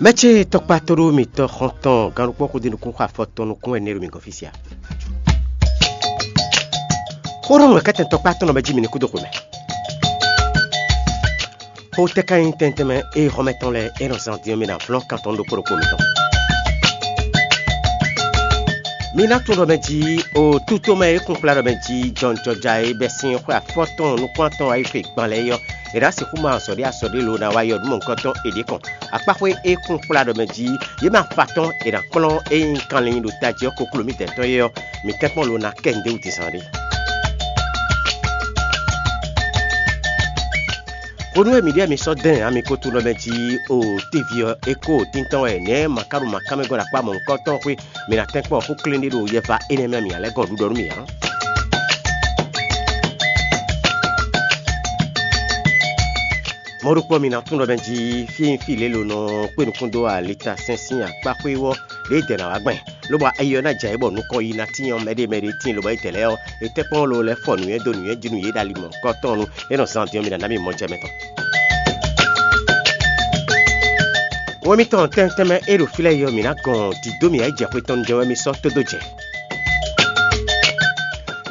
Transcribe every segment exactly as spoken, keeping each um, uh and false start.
Mɛ ce tɔkpá tóɖó mitɔ́ xɔ́ntɔn gannukpɔ́ xudí nukún xɔ afɔ tɔn nukún wɛ nɛ́ ɖo mi gɔ́n fí sia. Xó ɖɔ nǔ kɛ́tɛn tɔkpá tɔn nɔ mɛ jí mi ní kú dó xwe mɛ. Xó tɛ́ ka nyí tɛntɛn mɛ ée xɔ́mɛ tɔn lɛ́ɛ é nɔ zán din ɔ́, mi ná flɔ́n kan tɔn ɖokpó ɖokpó mitɔn. Mi ná tunwun ɖɔ mɛ jí o tútomɛ e kún kplá ɖɔ mɛ jí jɔnjɔja e bɛ́ sín xwé afɔtɔn nukún atɔn wá yi xwe gban lɛ́ɛ é ɔ́, è nǎ sixú ma azɔ̌ ɖé azɔ̌ ɖé lo ná wá yi ɔ́ nú mɔ̌hunkɔtɔn é ɖě kɔn. Akpáxwé e kún kplá ɖɔ mɛ jí yě mɛ afatɔ́n è nǎ kplɔ́n é nyí kanlin ɖo tají ɔ́ kokló mǐtɛn tɔn é ɔ́, mǐ tɛ́nkpɔ́n lo ná kɛ nǔɖé wú din zán ɖé. Hwenu e mǐ ɖíe mi sɔ́ dɛn ami ko tunɔ mɛ jí o téví ɔ́, é kó tíntɔ́n wɛ nɛ̌ makáɖo makámɛ gɔ́ ɖo akpá mɔ̌hunkɔtɔn xwé. Mi ná tɛ́nkpɔ́n xó klín ɖé ɖo yɛva énɛ́ mɛ mǐ ná lɛ́ gɔn ɖuɖɔ nú mì ǎ. Mɔ̌ ɖokpó ɔ́, mi ná tunɔ mɛ jí fí e nyí fí lě lo nɔ kpé nukún dó alita sɛn sín akpáxwé ɔ́, ɖěe dɛ̌ ná wá gbɛn, lobɔ ayi ɔ́ ná jɛ ayǐ bɔ nukɔn yi ná tín ɔ́ mɛɖé mɛɖé tíin, lobɔ é dɛ̌ lɛ́ɛ ɔ́, è tɛ́nkpɔ́n lo lɛ́ fɔ nǔnywɛ́ dó nǔnywɛ́ jí nú yě ɖo ali mɔ̌hunkɔtɔn nu, é nɔ zán din ɔ́, mi ná ná mì mɔ jɛ mɛ tɔn. Wɛ mitɔn tɛnmɛ tɛnmɛ e ɖo fí lɛ́ɛ yi ɔ́, mǐ ná gɔn dǐdó mǐ ayǐjɛxwe tɔn nu jɛ wɛ mi sɔ́ tódó jɛ.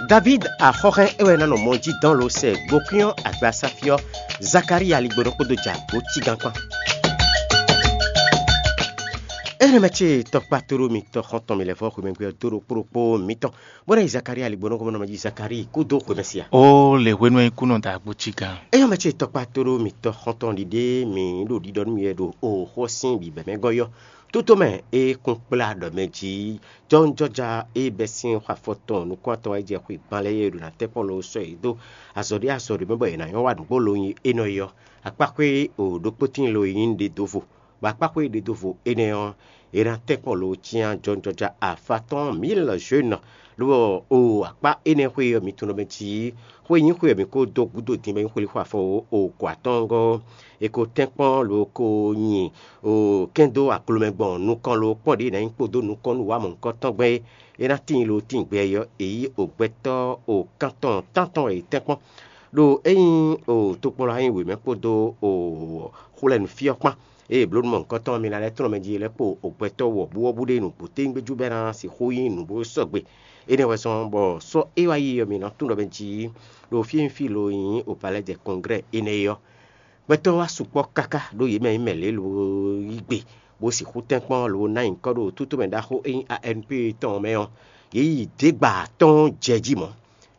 Davíd axɔ́hɛn é wɛ ná nɔ mɔ jí dɔn lo sɛ gbokwín ɔ́ agbasáfí ɔ́, Zakalíya ligbónɔ kpódó jɛ agbo cígan kpán. Énɛ́ mɛ ce tɔkpá tóɖó mitɔn xɔ́ntɔn mi lɛ́ vɔ́ xwemɛgbé ɔ́ dó ɖokpó ɖokpó mitɔn, bó ná yi Zakalíya ligbónɔ gɔ́mɔnɔ mɛ jí Zakalíi kú dó xwemɛ sia. Ó lě hwenu e kúnɔ da agbo cígan. Éyɔ́ mɛ ce tɔkpá tóɖó mitɔn xɔ́ntɔn ɖiɖe mǐ ɖo ɖiɖɔ nú mi wɛ ɖo oxó sín bǐbɛ́ mɛ gɔ́ yɔ́. Tótó mɛ e kún kplá ɖɔ mɛ jí jɔnjɔja e bɛ́ sín xɔ afɔ tɔn nukún atɔn wá yi jɛ xwe gban lɛ́ɛ e ɖo ná tɛ́nkpɔ́n lo sɔ́ yě dó azɔ̌ ɖé azɔ̌ ɖé mɛ bɔ yě ná nyɔ́ wa nǔgbó lo nyi énɔ é ɔ́, akpáxwé o ɖokpó tíin lo e nyí ɖě dó vo, bɔ akpáxwé ɖě dó vo énɛ́ ɔ́, è nǎ tɛ́nkpɔ́n lo cyán jɔnjɔja afatɔ́n mǐ lɔ Zhwénɔ, lobɔ o akpá énɛ́ xwé ɔ́ mi tunɔ mɛ jí xwé nyí xwé ɔ́ mi ko dó gúdo din bɔ é nyí xwé xwe afɔ o kɔ atɔ́ngɔ́. È ko tɛ́nkpɔ́n lo ko nyi o kɛ́n dó aklomɛ gbɔn nukɔn lo kpɔ́n ɖě ná nyí kpódó nukɔn nú wǎ mɔ̌hunkɔtɔn gbɛn é. É ná tíin lo tíin gbɛ ɔ́, è yí o gbɛtɔ́ o kántɔn tántɔn e tɛ́nkpɔ́n ɖo é nyí o tokpɔnlɔ ayǐ wěmɛ kpódó o xwlɛ́nufí ɔ́ kpán. Ée blǒ nú mɔ̌hunkɔtɔn ɔ́, mi ná lɛ́ tlɔ́n mɛ jí lɛ́ kpo o gbɛtɔ́ wɔ̌buwɔ́bú ɖé nǔgbó téwúngbéjú bɔ é ná sixú nyí nǔ bó sɔgbe. Énɛ́ wɛ zɔ́n bɔ sɔ́ é wá yi ɔ́, mi nǎ tunwun ɖɔ mɛ jí ɖo fí e nyí fí lo nyí o palɛ́ jɛ kɔnglɛ́ énɛ́ é ɔ́. Gbɛtɔ́ wá sukpɔ́ káká ɖó yě mɛ nyí mɛ lě lo yí gbe, bó sixú tɛ́nkpɔ́n lo ná nyǐkɔ ɖo tútú mɛ ɖaxó e nyí A N P tɔn ɔ́ mɛ ɔ́, yě yi dě gba atɔ́ɔ́n jɛ jí mɔ̌.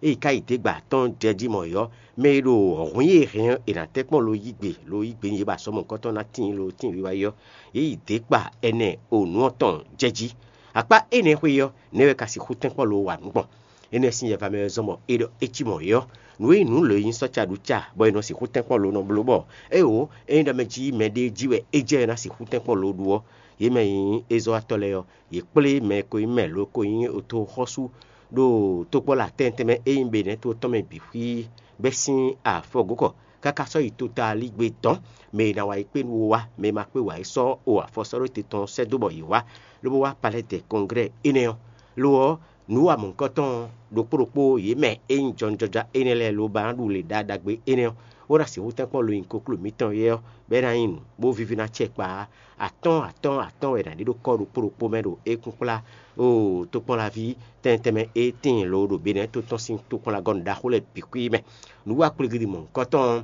Ée ka yi dě gba atɔ́ɔ́n jɛ jí mɔ̌ é ɔ́, mɛ e ɖo hǔn e hɛn ɔ́, è nǎ tɛ́nkpɔ́n lo yí gbe, lo yí gbe nyi yě ba sɔ́ mɔ̌hunkɔtɔn ná tíin lo tíin wiwa é ɔ́, yě yi dě kpa ɛnɛ o nǔ ɔ́ tɔn jɛ jí. Akpá énɛ́ xwé ɔ́, nɛ̌ wɛ ka sixú tɛ́nkpɔ́n lo wa nǔ gbɔn? Énɛ́ sín yɛva mɛ wɛ zɔ́n bɔ é ɖɔ é cí mɔ̌ é ɔ́, nǔ e nyí nǔ lě nyí sɔ́ ca ɖu ca bɔ è nɔ sixú tɛ́nkpɔ́n lo nɔ bló bɔ éwo é nyí ɖɔ mɛ jí mɛɖée jí wɛ é jɛ ná sixú tɛ́nkpɔ́n lo ɖu ɔ́, yě mɛ e nyí ézɔ́watɔ́ lɛ́ɛ ɔ́, yě kplé mɛ e ko nyí mɛ lo ko nyí otoxɔ́sú ɖo tokpɔ́ lɛ atɛn tɛnmɛ e nyí Benɛ́to tɔn mɛ bǐ xwí bɛ́ sín afɔgǒkɔ káká sɔ́ yi tota lí gbe dɔ̌n. Mɛ e ná wa yi kpé nú wo wá, mɛ e ma kpé wǎ é sɔ́ o afɔ sɔ́ ɖó te tɔn sɛ́ dó bɔ yě wá, lobo wá palɛ́ dɛ kɔnglɛ́ énɛ́ ɔ́. Lo ɔ́, nǔ wa mɔ̌hunkɔtɔn ɔ́, ɖokpó ɖokpó yě mɛ e nyí jɔnjɔja énɛ́ lɛ́ɛ lobá ɖu lě ɖagbe énɛ́ ɔ́, bó ná sixú tɛ́nkpɔ́n lo nyi kokló mǐtɔn é ɔ́, bɔ é ná nyí nǔ, bó víví ná acɛ kpa ǎ. Atɔ́ɔ́n atɔ́ɔ́n atɔ́ɔ́n wɛ è nǎ ɖe ɖó kɔ́ ɖokpó ɖokpó mɛ ɖo é kún kplá. Oo, tokpɔnlaví tɛnmɛ tɛnmɛ e tíin lo ɖo Benɛ́ to tɔn sín tokpɔnlagɔ́nu ɖaxó lɛ́ɛ bǐ xwí mɛ. Nǔ wa kplígídi mɔ̌hunkɔtɔn ɔ́,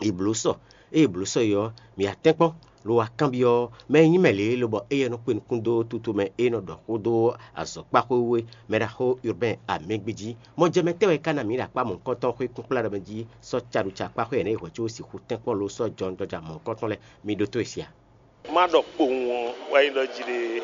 è blǒ sɔ. Ée è blǒ sɔ é ɔ́, mǐ wá tɛ́nkpɔ́n, lo wá kanbyɔ́ mɛ e nyí mɛ lě lobɔ éyɛ́ nɔ kpe nukún dó tutu mɛ e nɔ ɖɔ xó dó azɔ̌kpaxwé wú é, mɛ ɖaxó Urbain Amɛgbé jí. Mɔjɛmɛ tɛ́ wɛ ka ná mǐ ɖo akpá mɔ̌hunkɔtɔn xwé kúnkplá ɖɔ mɛ jí sɔ́ caɖuca akpáxwé ɛnɛ e hwɛ̌ có sixú tɛ́nkpɔ́n lo sɔ́ jɔnjɔja mɔ̌hunkɔtɔn lɛ́ɛ? Mi ɖótó e sia? Má ɖɔ kpowun ɔ́ wɛ nyí ɖɔ jí ɖe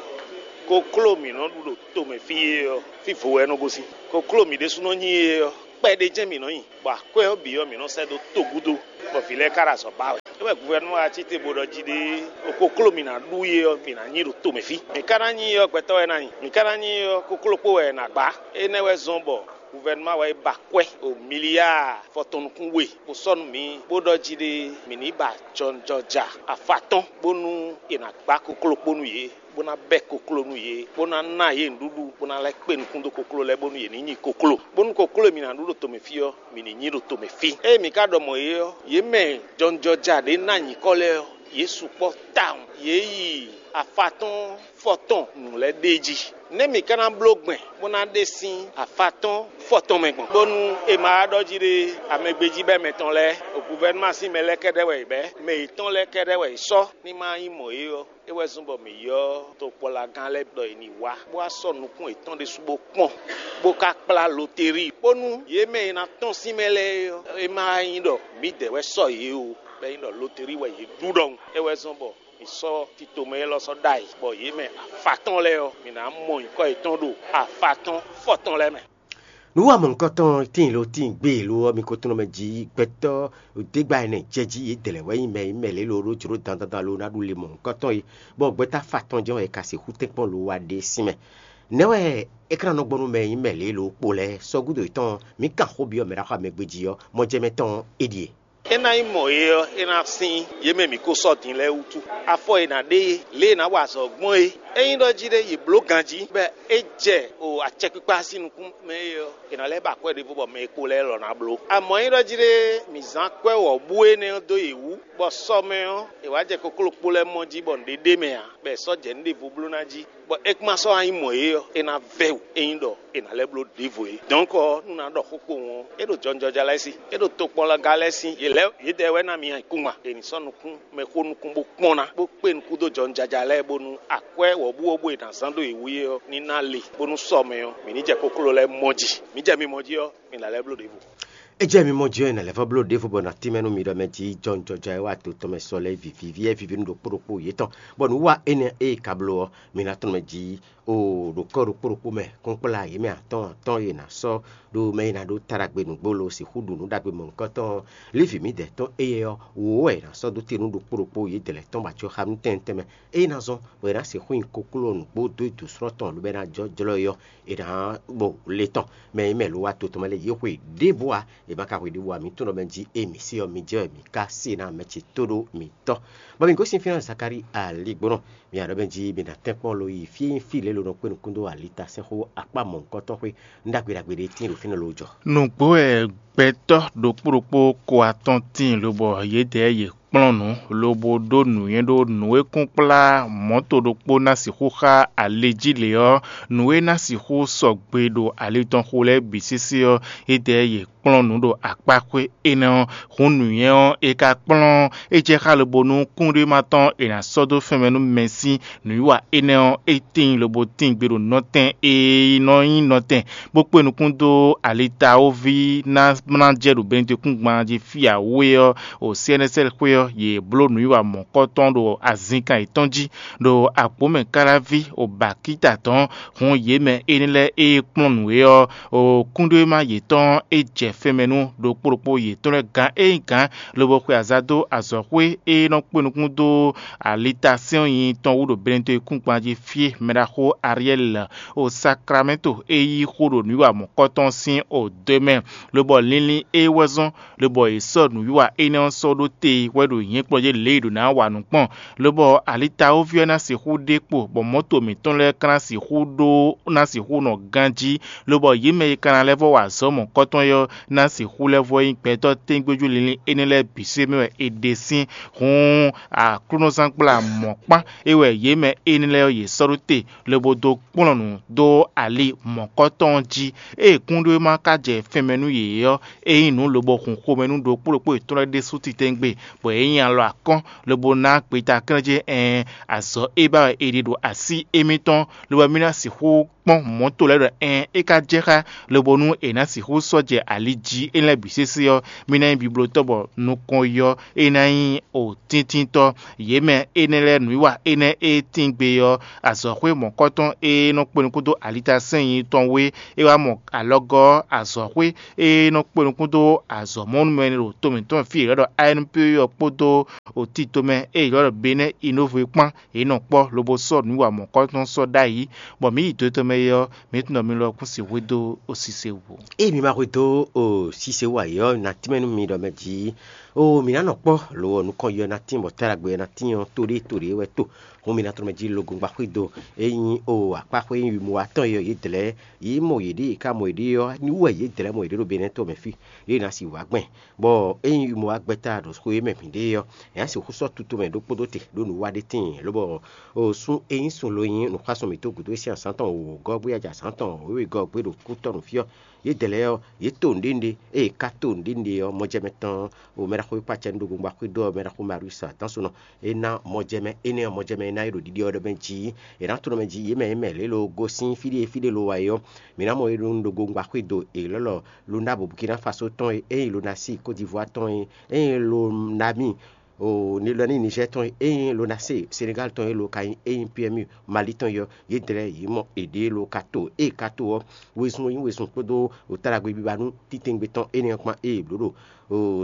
kokló mǐ nɔ ɖu ɖo tomɛ fí é ɔ́, fí vo wɛ é nɔ gosín. Kokló mǐ ɖésúnɔ nyí é ɔ́, kpɛɖé jɛ́n mǐ nɔ nyi, bɔ akwɛ́ ɔ́ bǐ ɔ́, mǐ nɔ sɛ́ dó togu dó, bɔ vǐ lɛ́ɛ ka ɖo azɔ̌ ba wɛ. É wɛ guvɛnuma wá cí te bó ɖɔ jí ɖe kokló mǐ ná ɖu é ɔ́, mǐ ná nyi ɖo tomɛ fí. Mǐ ka ná nyi é ɔ́, gbɛtɔ́ wɛ ná nyi. Mǐ ka ná nyi é ɔ́, kokló kpó wɛ è nǎ gbá. Énɛ́ wɛ zɔ́n bɔ guvɛnuma wá yi ba akwɛ́ o miliáa fɔtɔn nukún we bó sɔ́ nú mǐ, bó ɖɔ jí ɖe mǐ ní ba jɔnjɔja afatɔ́n, bónú è nǎ gbá kokló kpó nú yě, bó ná bɛ́ kokló nú yě, bó ná ná yě nǔɖuɖu, bó ná lɛ́ kpé nukún dó kokló lɛ́ɛ, bónú yě ní nyi kokló. Bónú kokló e mǐ ná ɖu ɖo tomɛ fí ɔ́, mǐ ní nyi ɖo tomɛ fí. Ée mǐ ka ɖɔ mɔ̌ é ɔ́, yě mɛ jɔnjɔja ɖě ná nyǐkɔ lɛ́ɛ ɔ́, Yě sukpɔ́ tawun, yě yi afatɔ́n fɔtɔn nǔ lɛ́ɛ ɖ'é jí. Nɛ̌ mǐ ka ná bló gbɛn bó ná ɖe sín afatɔ́n fɔtɔn mɛ gbɔn, bónú è ma wá ɖɔ jí ɖé amɛgbéjíbɛ́ mɛtɔn lɛ́ɛ, guvɛ́núma sín mɛ lɛ́ɛ kɛ́ɖɛ́ wɛ è bɛ̌, mɛ yětɔn lɛ́ɛ kɛ́ɖɛ́ wɛ è sɔ́ ní ma nyí mɔ̌ é ɔ́? É wɛ zɔ́n bɔ mǐ ylɔ́ tokpɔ́lagán lɛ́ɛ ɖɔ è ní wá, bó wá sɔ́ nukún yětɔn ɖésú bó kpɔ́n, bó ka kplá loteríi, bónú yě mɛ e ná tɔ́n sín mɛ lɛ́ɛ é ɔ́, é ma nyí ɖɔ mǐdɛɛ wɛ sɔ́ yě ó, bɔ é nyí ɖɔ loteríi wɛ yě ɖu ɖɔhun. É wɛ zɔ́n bɔ mǐ sɔ́ tito mɛ élɔ́ sɔ́ ɖ'ayǐ, bɔ yě mɛ afatɔ́n lɛ́ɛ ɔ́, mǐ ná mɔ nyǐkɔ yětɔn ɖo afatɔ́n fɔtɔn lɛ́ɛ mɛ. Nǔ wa mɔ̌hunkɔtɔn tíin lo tíin gbé lo ɔ́, mi ko tunɔ mɛ jí gbɛtɔ́ ɖěgbá ɛnɛ jɛ jí yě dlɛ̌ wɛ nyí mɛ e mɛ lě lo ɖó jlǒ dandandan lo ná ɖu le mɔ̌hunkɔtɔn é, bɔ gbɛtɔ́ afatɔ́n jɛ́n wɛ è ka sixú tɛ́nkpɔ́n lo wa ɖe sín mɛ. Nɛ̌ wɛ é ka ná nɔ gbɔn nú mɛ e nyí mɛ lě lo kpo lɛ́ɛ? Sɔ́ gúdo yětɔn ɔ́, mǐ kan xó byɔ́ mɛ ɖaxó amɛgbéjí ɔ́, mɔ jɛ mɛ tɔn ɔ́, é ɖíe. É ná nyí mɔ̌ é ɔ́, é ná sín yě mɛ mǐ ko sɔ́ din lɛ́ɛ wútu. Afɔ e è nǎ ɖe é, lě e è nǎ wa azɔ̌ gbɔn é, ényí ɖɔ jí ɖé yě bló ganjí, bɔ é jɛ o acɛkpikpa sín nukún mɛ é ɔ́, è nǎ lɛ́ ba akwɛ́ ɖěvo bɔ mɛ e kpo lɛ́ɛ lɔ ná bló. Amɔ̌ ényí ɖɔ jí ɖé mǐ zán akwɛ́ wɔ̌bú énɛ́ ɔ́ dó yě wú, bɔ sɔ mɛ ɔ́, è wǎ jɛ kokló kpo lɛ́ɛ mɔ jí bɔ nǔɖé ɖ'é mɛ ǎ, bɔ è sɔ́ jɛ nǔ ɖěvo bló ná jí, bɔ é kún ma sɔ́ wá nyí mɔ̌ é ɔ́, é ná vɛ́ wǔ ényí ɖɔ è nǎ lɛ́ bló ɖěvo é. Dɔ̌nkɔ ɔ́, nú nǎ ɖɔ xó kpowun ɔ́, é ɖo jɔnjɔja lɛ́ɛ sí, é ɖo tokpɔnlaga lɛ́ɛ sí, yě lɛ́ yědɛɛ wɛ ná mi nyi ayǐkúngban. È nǐ sɔ́ nukún mɛxó nukún bó kpɔ́n ná, bó kpé nukún dó jɔnjɔja lɛ́ɛ, bónú akwɛ́ wɔ̌buwɔ́bú e è nǎ zán dó yě wú é ɔ́ ní ná le, bónú sɔ mɛ ɔ́, mǐ ní jɛ kokló lɛ́ɛ mɔ jí. Mǐ jɛ mi mɔ jí ɔ́, mi ná lɛ́ bló ɖěvo. É jɛ mi mɔ jí ɔ́, è nǎ lɛ́ vɔ́ bló ɖěvo bɔ è nǎ tínmɛ nú mi ɖɔ mɛ jí jɔnjɔja e wá to tɔn mɛ sɔ lɛ́ɛ viví ví, é viví nú ɖokpó ɖokpó yětɔn, bɔ nǔ wa énɛ́ e è ka bló ɔ́, mi ná tunɔ mɛ jí. O ɖo kɔ́ ɖokpó ɖokpó mɛ kúnkplá yě mɛ atɔ́ɔ́n atɔ́ɔ́n e è nǎ sɔ́ ɖó mɛ e ná ɖó ta ɖagbe nǔgbó lo sixú ɖu nǔ ɖagbe mɔ̌hunkɔtɔn ɔ́, Livi mǐdɛɛ tɔn éyɛ́ ɔ́, wǒ wɛ è nǎ sɔ́ dó te nú ɖokpó ɖokpó yědɛɛ lɛ́ɛ tɔn bɔ acɔ́ xá nú tɛnmɛ tɛnmɛ. Ényí ná zɔ́n bɔ è nǎ sixú nyi kokló nǔgbó dó dǔsúnɔ tɔn lobo é ná jɔ jlɔ́ é ɔ́, è nǎ bɔ le tɔn mɛ e mɛ lo wá to tɔn mɛ lɛ́ɛ yě xwe ɖěbǔ ǎ, è ma ka xwe ɖěbǔ ǎ. Mǐ tunɔ mɛ jí e mǐ sí ɔ́, mi jɛ wɛ mǐ ka se ná mɛ ce tó ɖó mǐ tɔ́. Bɔ mǐ gosín fínɛ́ Zakalíi aligbɔnɔ. Mi aɖɔ̌ mɛ jí mi ná tɛ́nkpɔ́n lo yi fí e nyí fí lě lo nɔ kpé nukún dó alitasɛ́nxó akpá mɔ̌hunkɔtɔn xwé ɖagbe ɖagbe ɖé tíin ɖo fínɛ́ lo jɔ. Nǔgbó wɛ gbɛtɔ́ ɖokpó ɖokpó ko atɔn tíin lobɔ yědɛɛ yě kplɔ́n nǔ, lobo ɖó nǔnywɛ́ ɖó nǔ e kún kplá mɔ̌to ɖokpó ná sixú xá ali jí lě ɔ́, nǔ e ná sixú sɔgbe ɖo ali tɔn xo lɛ́ɛ bǐ sésé ɔ́, yědɛɛ yě kplɔ́n nǔ ɖo akpáxwé énɛ́ ɔ́. Hǔn nǔnywɛ́ ɔ́, è ka kplɔ́n é jɛ xá lobo nú kúnɖéma tɔn è nǎ sɔ́ dó fɛnmɛ nú mɛ sín nǔwiwa énɛ́ ɔ́, é tíin lobo tíin gbe ɖo nɔtɛn e nɔ nyí nɔtɛn, bó kpé nukún dó alitawoví ná ná jɛ ɖo Benedekúngban jí fí awú é ɔ́, o C N S L xwé ɔ́, yě bló nǔwiwa mɔ̌kɔtɔn ɖo azinkan yětɔn jí, ɖo agbǒmɛ káláví o bakíta tɔn. Hǔn yě mɛ énɛ́ lɛ́ɛ e kplɔ́n nǔ é ɔ́, o kúnɖéma yětɔn é jɛ fɛnmɛ nú ɖokpó ɖokpó yětɔn lɛ́ɛ gǎn e nyí gǎn, lobo xwe aza dó azɔ̌xwé e nɔ kpé nukún dó alitasɛ́nnyi tɔn wú ɖo Benedekúngban jí fí e mɛɖaxó Ariɛ́li o Saklamɛ́nto e yí xó ɖo nǔwiwa mɔ̌kɔtɔn sín o dó mɛ, lobɔ linlin é wɛ zɔ́n, lobɔ è sɔ́ nǔwiwa énɛ́ ɔ́ sɔ́ ɖó te wɛ ɖo nyɛ̌kplɔ́n lě e è ɖǒ ná wa nǔ gbɔn, lobɔ alitawoví ɔ́ ná sixú ɖe kpo, bɔ mɔ̌to mǐtɔn lɛ́ɛ ka ná sixú ɖó ná sixú nɔ ganjí, lobɔ yě mɛ e ka ná lɛ́ vɔ́ wa azɔ̌ mɔ̌kɔtɔn é ɔ́ ná sixú lɛ́ vɔ́ nyí gbɛtɔ́ tɛ́ngbéjú linlin énɛ́ lɛ́ɛ bǐ se mɛ wɛ è ɖe sín. Hǔn aklúnɔzángbla mɔ̌kpán é wɛ yě mɛ énɛ́ lɛ́ɛ ɔ́ yě sɔ́ ɖó te, lobo dó kplɔ́n nǔ dó ali mɔ̌kɔtɔn jí. Ée kúnɖéma ka jɛ fɛnmɛ nú yě ɔ́, é nyí nǔ lobo hun xomɛ nú ɖokpó ɖokpó yětɔn lɛ́ɛ ɖésú titɛngbe, bɔ yě nyi alɔ akɔ́n, lobo ná gbeta klɛ́n jɛ ɛɛn azɔ̌ e ba wɛ è ɖe ɖo así émítɔn, lobo mì ná sixú kpɔ́n mɔ̌to lɛ́ɛ ɖɔ ɛɛn é ka jɛ xá, lobo nú è nǎ sixú sɔ́ jɛ ali jí é lɛ́ɛ bǐ sésé ɔ́, mì ná nyí biblótɔ́ bɔ nukɔn yɔ é ná nyí o tíntintɔ́. Yě mɛ énɛ́ lɛ́ɛ nǔwiwa énɛ́ e tíin gbe ɔ́, azɔ̌xwé mɔ̌kɔtɔn e nɔ kpé nukún dó alitasɛ́nnyi tɔn wé, é wá mɔ alɔgɔ́ azɔ̌xwé e nɔ kpé nukún dó azɔ̌mɔnúmɛ ɖo to mǐtɔn fí e è ylɔ́ ɖɔ A N P E ɔ́ kpódó o tito mɛ e è ylɔ́ ɖɔ Benɛ́ Inóvo é kpán, yě nɔ kpɔ́ lobo sɔ́ nǔwiwa mɔ̌kɔtɔn sɔ́ ɖ'ayǐ, bɔ mǐ yi do tɔn mɛ é ɔ́, mǐ tunɔ mi lɔ kún sixú hwedó o sise wú. Ée mi ma hwedó o sise wú ǎ é ɔ́, nǎ tínmɛ nú mi ɖɔ mɛ jí Oo, mǐ ná nɔ kpɔ́, lo ɔ́, nukɔn yɔ ná tín, bɔ táɖagbe ɔ́ ná tín ɔ́, to ɖé to ɖě wɛ to. Hǔn mǐ ná tlɔ́ mɛ jí logun gba xwé do. Ényí o akpáxwé nyí mɔ atɔn e ɔ́, yě dlɛ̌, yě mɔ yěɖée, yě ka mɔ yěɖée ɔ́, ní wú wɛ yě dlɛ̌ mɔ yěɖée ɖo Benɛ́ to mɛ fí, yě ná si wǎ gbɛn. Bɔ ényí mɔ agbɛ́ta ɖo xwé mɛ mǐɖée ɔ́, è nǎ sixú sɔ́ tutomɛ ɖokpó ɖó te ɖó nǔwiwa ɖé tíin, lobɔ o sun e nyí sun lo nyí nǔxwásún mǐtɔn gǔdo e sín azǎn tɔn wǒwó gɔ́ gbé aja azǎn tɔn wěwegɔ́ gbé ɖo kútɔ́ nú fí ɔ́, yědɛɛ lɛ́ɛ ɔ́, yě to nǔɖé nǔɖé, ée yě ka to nǔɖé nǔɖé ɔ́, mɔjɛmɛ tɔn o mɛɖaxó e kpó acɛ nú ɖo gbongbo axwé dó ɔ́, mɛɖaxó Mariusi Adansunɔ, é ná mɔjɛmɛ énɛ́ ɔ́, mɔjɛmɛ e ná é ɖo ɖiɖe ɔ́ ɖɔ mɛ jí è nǎ tlɔ́ mɛ jí yě mɛ yě mɛ lě lo gosín fí ɖé fí ɖé lo wá é ɔ́, mǐ ná mɔ é ɖó nú ɖo gbongbo axwé do è lɔ́lɔ Luna bo Bukina Faso tɔn e, ényí Luna sí Kódivuá tɔn e, ényí Lona mì o Nilɔ́ ní Nizɛ́ɛ tɔn e, ényí Lona sí Senegali tɔn e lo ka nyí ényí P M U Mali tɔn e ɔ́, yě dlɛ́ yě mɔ èɖée lo ka to ée ka to ɔ́, wezun e nyí wezun kpódó wǒtálagbé biba nú titewungbe tɔn énɛ́ ɔ́ kpán ée è blǒ ɖo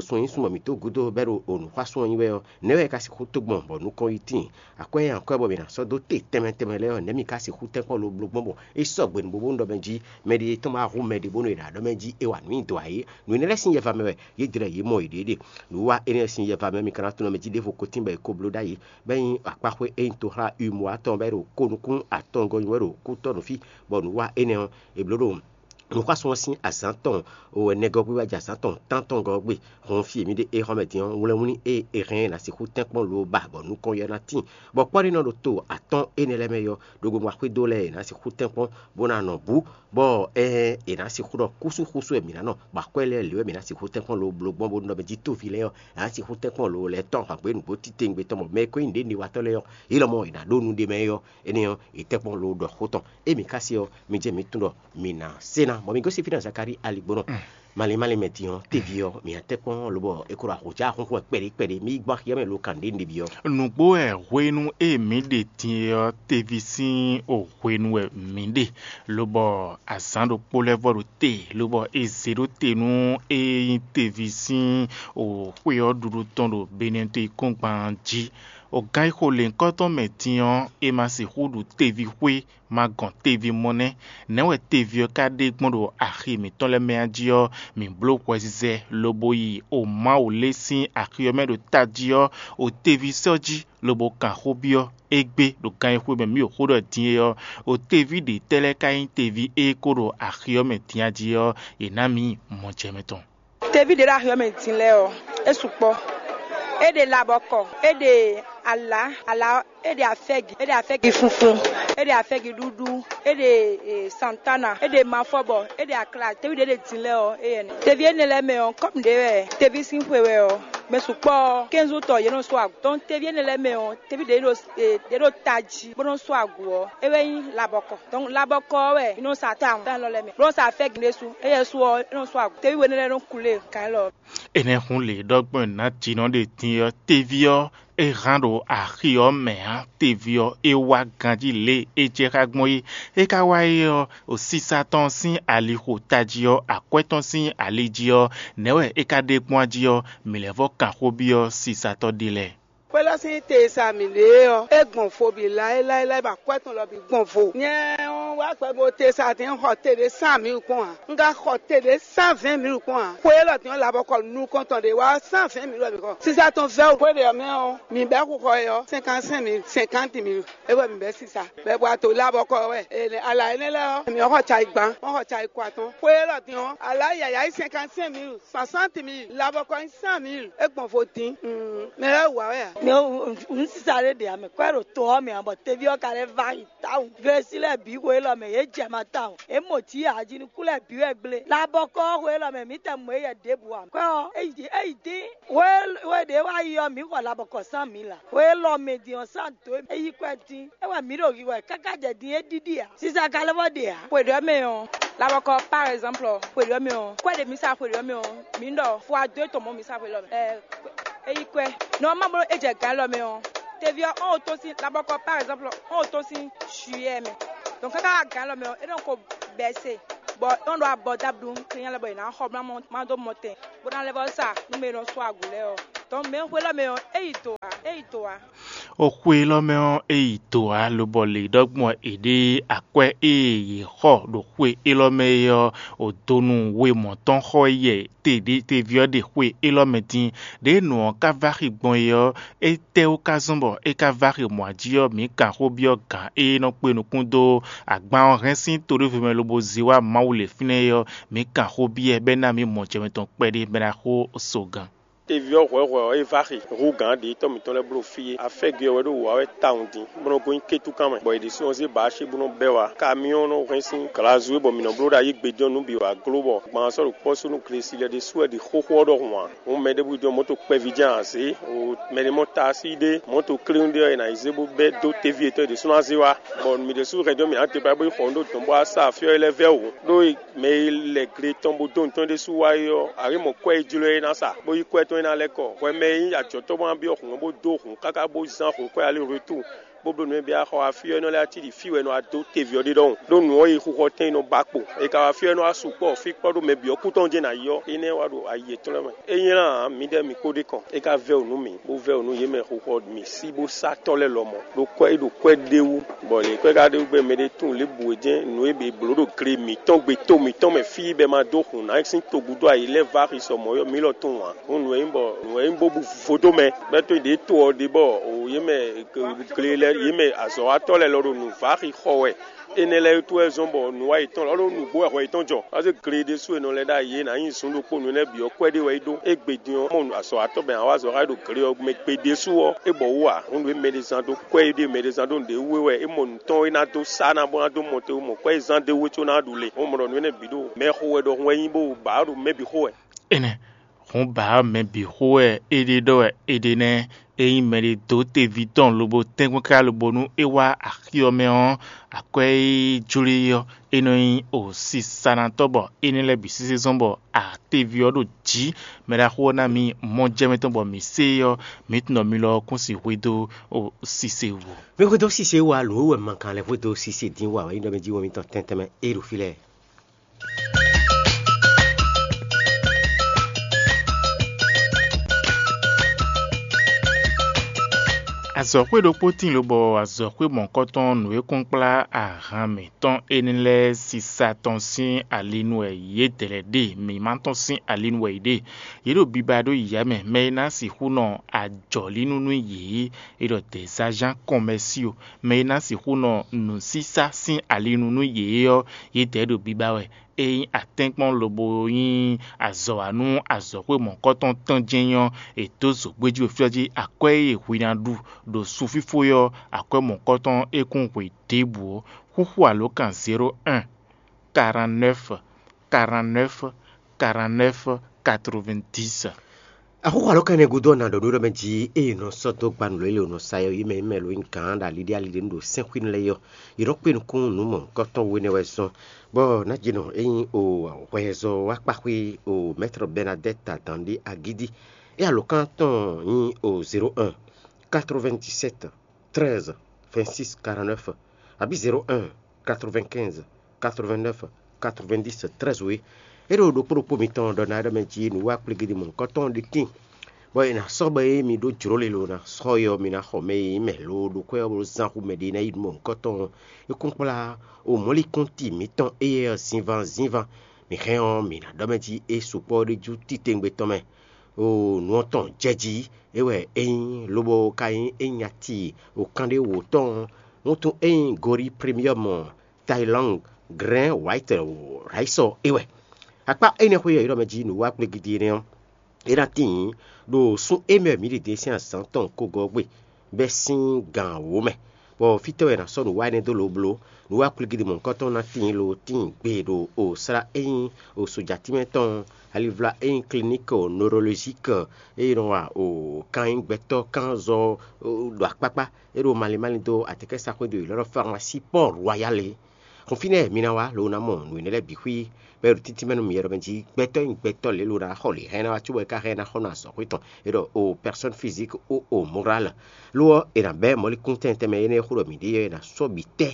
sun e nyí sun bɔ mǐ tó gúdo bɔ é ɖo nǔxwásún ɔ́ nyi wɛ ɔ́, nɛ̌ wɛ é ka sixú tó gbɔn bɔ nukɔn yi tíin? Akwɛ́ e akwɛ́ bɔ mǐ ná sɔ́ dó te tɛnmɛ tɛnmɛ lɛ́ɛ ɔ́, nɛ̌ mǐ ka sixú tɛ́nkpɔ́n lo bló gbɔn bɔ é sɔgbe nǔ bóbó nú ɖɔ mɛ jí mɛ ɖé tɔn ma hu mɛ ɖě bónú è nǎ ɖɔ mɛ jí é wa nǔ nyi dɔ̌ ǎ é? Nǔ énɛ́ lɛ́ɛ sín yɛva mɛ wɛ yě dlɛ́ yě mɔ yěɖée ɖe. Nǔwiwa énɛ́ sín yɛva mɛ ɔ́, mi ka ná tunwun mɛ jí ɖěvo ko tín bɔ è ko bló ɖ'ayǐ, bɔ é nyí akpáxwé e nyí toxlá Uimɔa tɔn bɔ é ɖo ko nukún atɔngɔ́ nyi wɛ ɖo kútɔ́ nǔ fí, bɔ nǔwiwa énɛ́ ɔ́, è blǒ ɖo nǔxwásún ɔ́ sín azǎn tɔn wɛ nɛgɔ́ gbé wá jɛ azǎn tɔn tántɔn gɔ́ ɔ́ gbe. Hɔn fí e mǐ ɖe é xɔ mɛ din ɔ́, wlɛ́nwlí e è hɛn ɔ́ ná sixú tɛ́nkpɔ́n lo ba bɔ nukɔn yɔ ná tíin, bɔ kpɔ́ɖínɔ ɖo to atɔ́ɔ́n énɛ́ lɛ́ɛ mɛ ɔ́, ɖo gbogbo axwé dó lɛ́ɛ è nǎ sixú tɛ́nkpɔ́n bó ná nɔ bú, bɔ è nǎ sixú ɖɔ kúsúxúsú wɛ mǐ ná nɔ, bɔ akwɛ́ lɛ́ɛ lě wɛ mǐ ná sixú tɛ́nkpɔ́n lo bló gbɔn bónú ɖɔ mɛ jí tóví lɛ́ɛ ɔ́, è nǎ sixú tɛ́nkpɔ́n lo lɛ́ɛ tɔn hǎngbé nǔgbó titewungbe tɔn, bɔ mɛ e ko nyí nǔɖé newatɔ́ lɛ́ɛ ɔ́, yě lɔmɔ̌ è nǎ ɖó nu ɖ'é mɛ é ɔ́, énɛ́ ɔ́, è tɛ́nkpɔ́n lo ɖɔ xó tɔn. Ée mǐ ka se ɔ́, mi jɛ mǐ tunwun ɖɔ mǐ ná se ná, bɔ mi gosín fínɛ́ Zakalíi aligbónɔ. Malín malín mɛ din ɔ́, teví ɔ́, mǐ ná tɛ́nkpɔ́n lobɔ é ko ɖo ahǒjá xúnxún wɛ kpɛɖé kpɛɖé, mí yi gbɔ axi ɔ́ mɛ lo kan ɖě nǔɖé byɔ́. Nǔgbó wɛ hwenu e mǐ ɖe din é ɔ́, teví sín o hwenu wɛ mǐ ɖe, lobɔ azǎn ɖokpó lɛ́ vɔ ɖo te, lobɔ è zě ɖó te nú e nyí teví sín o xwé ɔ́ ɖuɖu tɔn ɖo Benɛ́to yíkɔ́ngban jí. O gán e xo lěhunkɔ́tɔn mɛ din ɔ́, è ma sixú ɖu teví xwé ma gɔn teví mɔ nɛ́. Nɛ̌ wɛ teví ɔ́ ka ɖe gbɔn ɖo axi mǐtɔn lɛ́ɛ mɛ a jí ɔ́, mǐ bló hwɛzizɛ lobo yi o Mawu lé sín axi ɔ́ mɛ ɖo tají ɔ́, o teví sɔ́ jí lobo kan xó byɔ́ égbé ɖo gan e xwé mɛ mǐ ɖo xó ɖɔ din é ɔ́, o teví ɖě tɛ́ lɛ́ɛ ka nyí teví e ko ɖo axi ɔ́ mɛ din a jí ɔ́, è nǎ mǐ mɔjɛmɛ tɔn. Teví ɖě ɖo axi ɔ́ mɛ din lɛ́ɛ ɔ́, é sukpɔ́. É ɖe labɔkɔ, é ɖe alǎ, alǎ ɔ́, é ɖe afɛ́gi, é ɖe afɛ́gi funfun, é ɖe afɛ́gi ɖuɖu, é ɖe e, santana, é ɖe mafɔbɔ, é ɖe akla. Teví ɖě ɖe din lɛ́ɛ ɔ́, éyɛ́ nɛ́. Teví énɛ́ lɛ́ɛ mɛ ɔ́, kɔ́mu ɖě wɛ teví sín xwe wɛ ɔ́, mɛ sukpɔ́ ɔ́, kɛ́nzú tɔ yě nɔ sú agu. Dɔn teví énɛ́ lɛ́ɛ mɛ ɔ́, teví ɖě ɖo e, ɖě ɖo tají bó nɔ́ sú agu ɔ́, é wɛ nyí labɔkɔ. Dɔn labɔkɔ ɔ́ wɛ mǐ nɔ sa tawun tán lɔ lɛ́ɛ mɛ, bó nɔ́ sa afɛ́gi ɖésú. Éyɛ́ su ɔ́, é nɔ sú agu. Teví we énɛ́ lɛ́ɛ nɔ ku lé kan élɔ́. Énɛ́ hun lě ɖɔ gbɔn nǎjínɔ ɖe din ɔ́, teví ɔ́, é hán ɖo axi ɔ́ mɛ ǎ. Teví ɔ́, é wá ganjí lě e é jɛ xá gbɔn é. É ka wá é ɔ́, sisa tɔn sín ali xo tají ɔ́, akwɛ́ tɔn sín ali jí ɔ́, nɛ̌ wɛ é ka ɖe gbɔn a jí ɔ́, mǐ lɛ́ vɔ kan xó byɔ́ sisatɔ́ ɖé lɛ́ɛ. Xwé lɔ sín te e sa mǐ ɖe é ɔ́, é gbɔn vo bǐ láéláé bɔ akwɛ́ tɔn lɔ bǐ gbɔn vo. Nyɛ ɔ́, wá gbɛ bo te sa dín xɔ te ɖé sán mǐ kpɔ́n ǎ. Un ka xɔ te ɖé sán vɛ̌ɛn mǐ kpɔ́n ǎ. Xwe élɔ́ din ɔ́, labɔkɔ nukɔn tɔn ɖé wá sán vɛ̌ɛn mǐ wɛ mǐ xɔ. Sisa tɔn vɛ́ xwe ɖě ɔ́ mɛ ɔ́, mǐ bɛ́ xixɔ é ɔ́, cinquante-cinq mille, cinquante mille. É wɛ mǐ bɛ́ sisa. Bɛ́ bɔ ato labɔkɔ wɛ. Ala énɛ́ lɛ́ɛ ɔ́, mǐ xɔ cayi gban, mɔ xɔ cayi kɔ atɔn. Xwe élɔ́ din ɔ́, ala yǎyá yi cinquante-cinq mille, soixante mille, labɔkɔ yi cent mille, é gbɔn vo dín. Mɛ lɛ́ɛ wǎ wɛ a? Mɛ un sisa ɖé ɖe ame kɔ ɖo to ɔ́ mɛ ǎ, bɔ teví ɔ́ ka lɛ́ va yi tawun. Glesi lɛ́ɛ bǐ xwe élɔ́ mɛ yě jɛ ma tawun. É mɔ jǐ ajinuku lɛ́ɛ bǐ wɛ gblé. Labɔkɔ ɔ́ xwe élɔ́ mɛ mǐ tɛ mɔ éyɛ ɖěbǔ ǎ. Kɔ ɔ́, é yi é yi dín. Xwe xwe ɖě wá yi ɔ́, mǐ xɔ labɔkɔ sán mǐ la. Xwe élɔ́ mɛ din ɔ́ sán dǒ é yi kwɛ dín. É wɛ mǐ ɖo yi wɛ káká jɛ din é ɖiɖi ǎ. Sisa ka lɛ́ vɔ ɖe ǎ. Xwe ɖě mɛ ɔ́, labɔkɔ par exemple, xwe ɖě mɛ ɔ́, kwɛ ɖě mǐ sa xwe ɖě mɛ ɔ́, mǐ ɖɔ fɔ adó tɔn mɔ mǐ sa xwe lɔ mɛ. Ɛ, é yi kwɛ. Nɔ ma bló é jɛ gǎn lɔ mɛ ɔ́, teví ɔ́ ɔn tɔn sín labɔkɔ par exemple ɔn tɔn sín juillet mɛ. Donc káká gǎn lɔ mɛ ɔ́, é nɔ ko bɛse. Bɔ é nɔ ɖo abɔ dablu kɛnyɛ lɛ bɔ è nǎ xɔ bla mɔ ma dó mɔ tɛn, bó ná lɛ́ vɔ sa nú mɛ e nɔ sú agu lɛ́ɛ ɔ́. Donc mɛ xwe lɔ mɛ ɔ́, é yi do ǎ, é yi do ǎ. Xwe élɔ́ mɛ ɔ́, é yi do ǎ, lobɔ lě ɖɔgbɔn è ɖe akwɛ́ e yě xɔ ɖo xwe élɔ́ mɛ é ɔ́, o donu we mɔ̌ tɔn xɔ yɛ teví ɔ́ ɖe xwe élɔ́ mɛ dín. Ɖěe nǔ ɔ́ ka vá xi gbɔn é ɔ́, étɛ́wú ka zɔ́n bɔ é ka vá xi mɔ̌ jí ɔ́, mǐ kan xó byɔ́ gǎn e nɔ kpe nukún dó agban ɔ́ hɛn sín to ɖěvo mɛ lobo zé wá Mawu lě fínɛ́ é ɔ́, mǐ kan xó byɔ́ ɛ bɔ é ná mǐ mɔ jɛ mǐtɔn kpɛɖé bɔ é ná xo so gǎn. Teví ɔ́ hwɛ̌hwɛ́ ɔ́, é vá xi hú gǎn ɖě tɔ́ mǐtɔn lɛ́ɛ bló fí é. Afɛ́gbe ɔ́ wɛ ɖo wǔ wa wɛ tawun din, bó nɔ́ gosín kétúkan mɛ, bɔ yě ɖésú nɔ zé bǎ cí bó nɔ bɛ́ wá. Kamyɔ́n nɔ hɛn sín glazu e bɔ mǐ nɔ bló ɖo ayǐ gbe jɔ́n nú bǐ wá gló bɔ gban ɔ́ sɔ́ ɖo kpɔ́ sú nú glesi lɛ́ɛ ɖésú wɛ ɖi xóxó ɔ́ ɖɔhun ǎ. Hǔn mɛ ɖěbǔ jɔ́n mɔ̌to kpɛví jɛ́n ǎ zě, o mɛ ɖé mɔ taasí ɖé, mɔ̌to klínu ɖé ɔ́, è nǎ yi zé bó bɛ́ dó teví yětɔn ɖésú ná zé wá, bɔ mǐ ɖésú hɛn jɔ́n mǐ ná te kpá bó yi xɔ nǔ ɖó dɔ̌n bó wá sa afyɔ́ é lɛ́ɛ vɛ́ wǔ. Ɖó mɛ e lɛ gle tɔn bó dó nǔ tɔn ɖésú wá é ɔ́, a nǎ mɔ kwɛ́ e jló é ná sa, bó yí kwɛ́ tɔn é ná lɛ́ kɔ. Hwɛ mɛ e nyí ajɔ̌tɔ́ bó ná byɔ́ hǔn ɔ́ bó dó hǔn káká bó zán hǔn kwɛ́ alí retour, bó bló nǔ e bǐ wá xɔ wá fí ɔ́, é nɔ lɛ́ wá cí ɖi fí wɛ è nɔ wá dó teví ɔ́ ɖe ɖɔhun. Ɖó nǔ ɔ́ e xixɔ tɛn e nɔ ba kpo, è ka wá fí ɔ́, é nɔ wá sukpɔ́ fí kpɔ́ ɖó mɛ bǐ ɔ́ kú tɔn jɛ́n ná yi ɔ́, énɛ́ wá ɖo ayi yětɔn lɛ́ɛ mɛ. É nylá ǎ, mǐdɛɛ mǐ kpó ɖe kɔn, é ka vɛ́ wǔ nú mǐ, bó vɛ́ wǔ nú yě mɛ xixɔ mǐ sí bó sá tɔ́ lɛ́ɛ lɔmɔ̌, ɖó kwɛ́ é ɖo kwɛ́ ɖé wú, bɔ lě kwɛ́ ka ɖe wú gbɛ́ mɛ ɖé tunwun lě bǔ e jɛ́n nǔ e è blǒ ɖo gle mǐtɔn gbe tó mǐtɔn mɛ fí bɔ è ma dó hun nǎ sín togúdo ayǐ lɛ́ɛ vá xi sɔ mɔ̌ ɔ́, mǐ lɔ tunwun ǎ. Hǔn nǔ e nyí bɔ nǔ e nyí bó bú vodó mɛ, bɔ é to ɖě to ɔ́ ɖe bɔ yě mɛ gle lɛ́ɛ yě mɛ azɔ̌watɔ́ lɛ́ɛ lɔ ɖo nǔ vá xi xɔ wɛ. Énɛ́ lɛ́ɛ wútu wɛ zɔ́n bɔ nǔwa yětɔn lɔ ɖó nǔgbó wɛ hwɛ yětɔn jɔ. Ɔ́ zé gle ɖésú e nɔ lɛ́ ɖ'ayǐ é nǎ nyi zǔn ɖokpó nǔ énɛ́ bǐ ɔ́ kwɛ́ ɖé wɛ é ɖó. Égbé din ɔ́, mɔ azɔ̌watɔ́ bɔ è nǎ wa azɔ̌ xá é ɖo gle ɔ́ mɛ gbe ɖésú ɔ́, é bɔ wú ǎ. Hǔn nǔ e mɛ ɖé zán dó kwɛ́ é ɖe mɛ ɖé zán dó nǔɖé wú é wɛ é mɔ nǔ tɔn e ná dó sá ná bó ná dó mɔ te wú mɔ kwɛ́ e zán dó wú é có ná ɖu le. Hǔn mɔ ɖɔ nǔ énɛ́ bǐ ɖo mɛ xo wɛ ɖɔhun wɛ nyí bó ba ɖo mɛ bǐ xo wɛ. Énɛ́ hǔn ba mɛ bǐ xo wɛ é ɖe ɖɔ wɛ é ɖe nɛ́. Ényí mɛɖé dó teví tɔn lobo tɛ́nkpɔ́n káká lobo nú é wá axi ɔ́ mɛ ɔ́, akwɛ́ e jló e ɔ́, é nɔ nyí o sisanatɔ́ bɔ énɛ́ lɛ́ɛ bǐ sésé zɔ́n bɔ ateví ɔ́ ɖo jǐ. Mɛɖaxó ɔ́ ná mì mɔ jɛ mɛ tɔn bɔ mǐ se é ɔ́, mǐ tunwun ɖɔ mi lɔ ɔ́ kún sixú xwedó o sise wú. Mi xwedó sise wá lǒ wɛ ma kan lɛ́ xwedó sise dín wá wɛ nyí ɖɔ mɛ jí wɔ mitɔn tɛntɛn mɛ é ɖo fí lɛ́ɛ. Azɔ̌xwé ɖokpó tíin lobɔ azɔ̌xwé mɔ̌kɔtɔn nǔ e kún kplá ahan mǐtɔn énɛ́ lɛ́ɛ sisa tɔn sín ali nu wɛ yědɛɛ lɛ́ɛ ɖe; mǐmá tɔn sín ali nu wɛ yě ɖe. Yě ɖo biba ɖó yǐyá mɛ; mɛ e ná sixú nɔ ajɔ̌línú nú yě é ɖɔ dɛ̌zázán kɔnmɛsío; mɛ e ná sixú nɔ nǔsísá sín ali nu nú yě é ɔ́, yědɛɛ ɖo biba wɛ. Ényí atɛ́nkpɔ́n lobo nyí azɔ̌ wa nú azɔ̌xwé mɔ̌kɔtɔn tɔn jɛ́n nyí ɔ́, è dǒ zǒgbéjí ɖo fí ɔ́ jí akwɛ́ e hwi ná ɖu ɖo sunfífó é ɔ́, akwɛ́ mɔ̌kɔtɔn é kún hwe ɖěbǔ ɔ́. Xúxú alǒkan zéro un, quarante-neuf, quarante-neuf, quarante-neuf, quatre-vingt-dix. Axɔ́xɔ alɔkɛ́nɛ́ gúdo ɔ́, nǎ ɖɔ nú ɖɔ mɛ jí ée è nɔ sɔ́ dó gba nǔ lélẹ̀ ɔ́ nɔ sa ɔ́, yě mɛ e mɛ lo nyí gǎn ɖo ali ɖé ali ɖé nu ɖo sɛ́nxwínu lɛ́ɛ é ɔ́, yě nɔ kpé nukún nǔ mɔ̌hunkɔtɔn we nɛ́ wɛ zɔ́n, bɔ nǎjínɔ e nyí o hwɛzɔ́wákpaxwé o Mɛ́trɔ Bɛnadɛ́t Adǎn ɖé agídí. É alɔkán tɔn nyí o zéro un, quatre-vingt-dix-sept, treize, vingt-six, quarante-neuf, abǐ zéro un, quatre-vingt-quinze, quatre-vingt-neuf, quatre-vingt-dix, treize é. É ɖo ɖokpó ɖokpó mitɔn ɖɔ ná ɖɔ mɛ jí nǔ wá kplégídi mɔ̌hunkɔtɔn ɖé tíin, bɔ è nǎ sɔ́ bɔ é mi ɖó jlǒ lě lo ná sɔ́ yɔ mi ná xɔ mɛ e nyí mɛ lo ɖo kwɛ́ ɔ́ bó zán xú mɛ ɖé ná yi nú mɔ̌hunkɔtɔn. É kún kplá o mɔ̌likúnti mǐtɔn éyɛ́ ɔ́ zinván zinván. Mi hɛn ɔ́, mǐ ná ɖɔ mɛ jí é sukpɔ́ ɖ'é jú titewungbe tɔn mɛ. O nǔ ɔ́ tɔn jɛ jí, é wɛ é nyí, lobo ka nyí é nyí ati o kanɖé wǒ tɔn. Wuntun é nyí Gori Premium, Thailand, Grand White Rice é wɛ. Akpá énɛ́ xwé ɔ́, yě ɖɔ mɛ jí nǔ wá kplégídi énɛ́ ɔ́, é ná tíin ɖo sún émɛ mǐ ɖě sín azǎn tɔn kogɔ́ gbe bɛ́ sín gan wǒ mɛ, bɔ fítɛ́ wɛ è nǎ sɔ́ nǔ wa énɛ́ dó lo bló? Nǔ wa kplígídi mɔ̌hunkɔtɔn ná tíin lo tíin gbe ɖo o slá e nyí o sojatínmɛ tɔn, alivla e nyí Clinique Neurologique e nɔ wa o kan nyí gbɛtɔ́ kánzɔ ɖo akpákpá, é ɖo malín málín dó atɛkɛ́saxwé dó yě lɔ́ ɖɔ Pharmacie Port Royal é. Xɔn fínɛ́ mi ná wá, lo ná mɔ nǔ énɛ́ lɛ́ɛ bǐ xwí, bɔ é ɖo títí mɛ nú mi ɖɔ mɛ jí gbɛtɔ́ e nyí gbɛtɔ́ lě lo ná xɔ lě hɛn ná wá cóbɔ é ka hɛn ná xɔ nú azɔ̌xwé tɔn, é ɖɔ o personne physique ou o morale. Lo ɔ́, è nǎ bɛ́ mɔ̌likún tɛnmɛ tɛnmɛ énɛ́ e xó ɖɔ mǐ ɖe é ná sɔ́ bǐ tɛ́,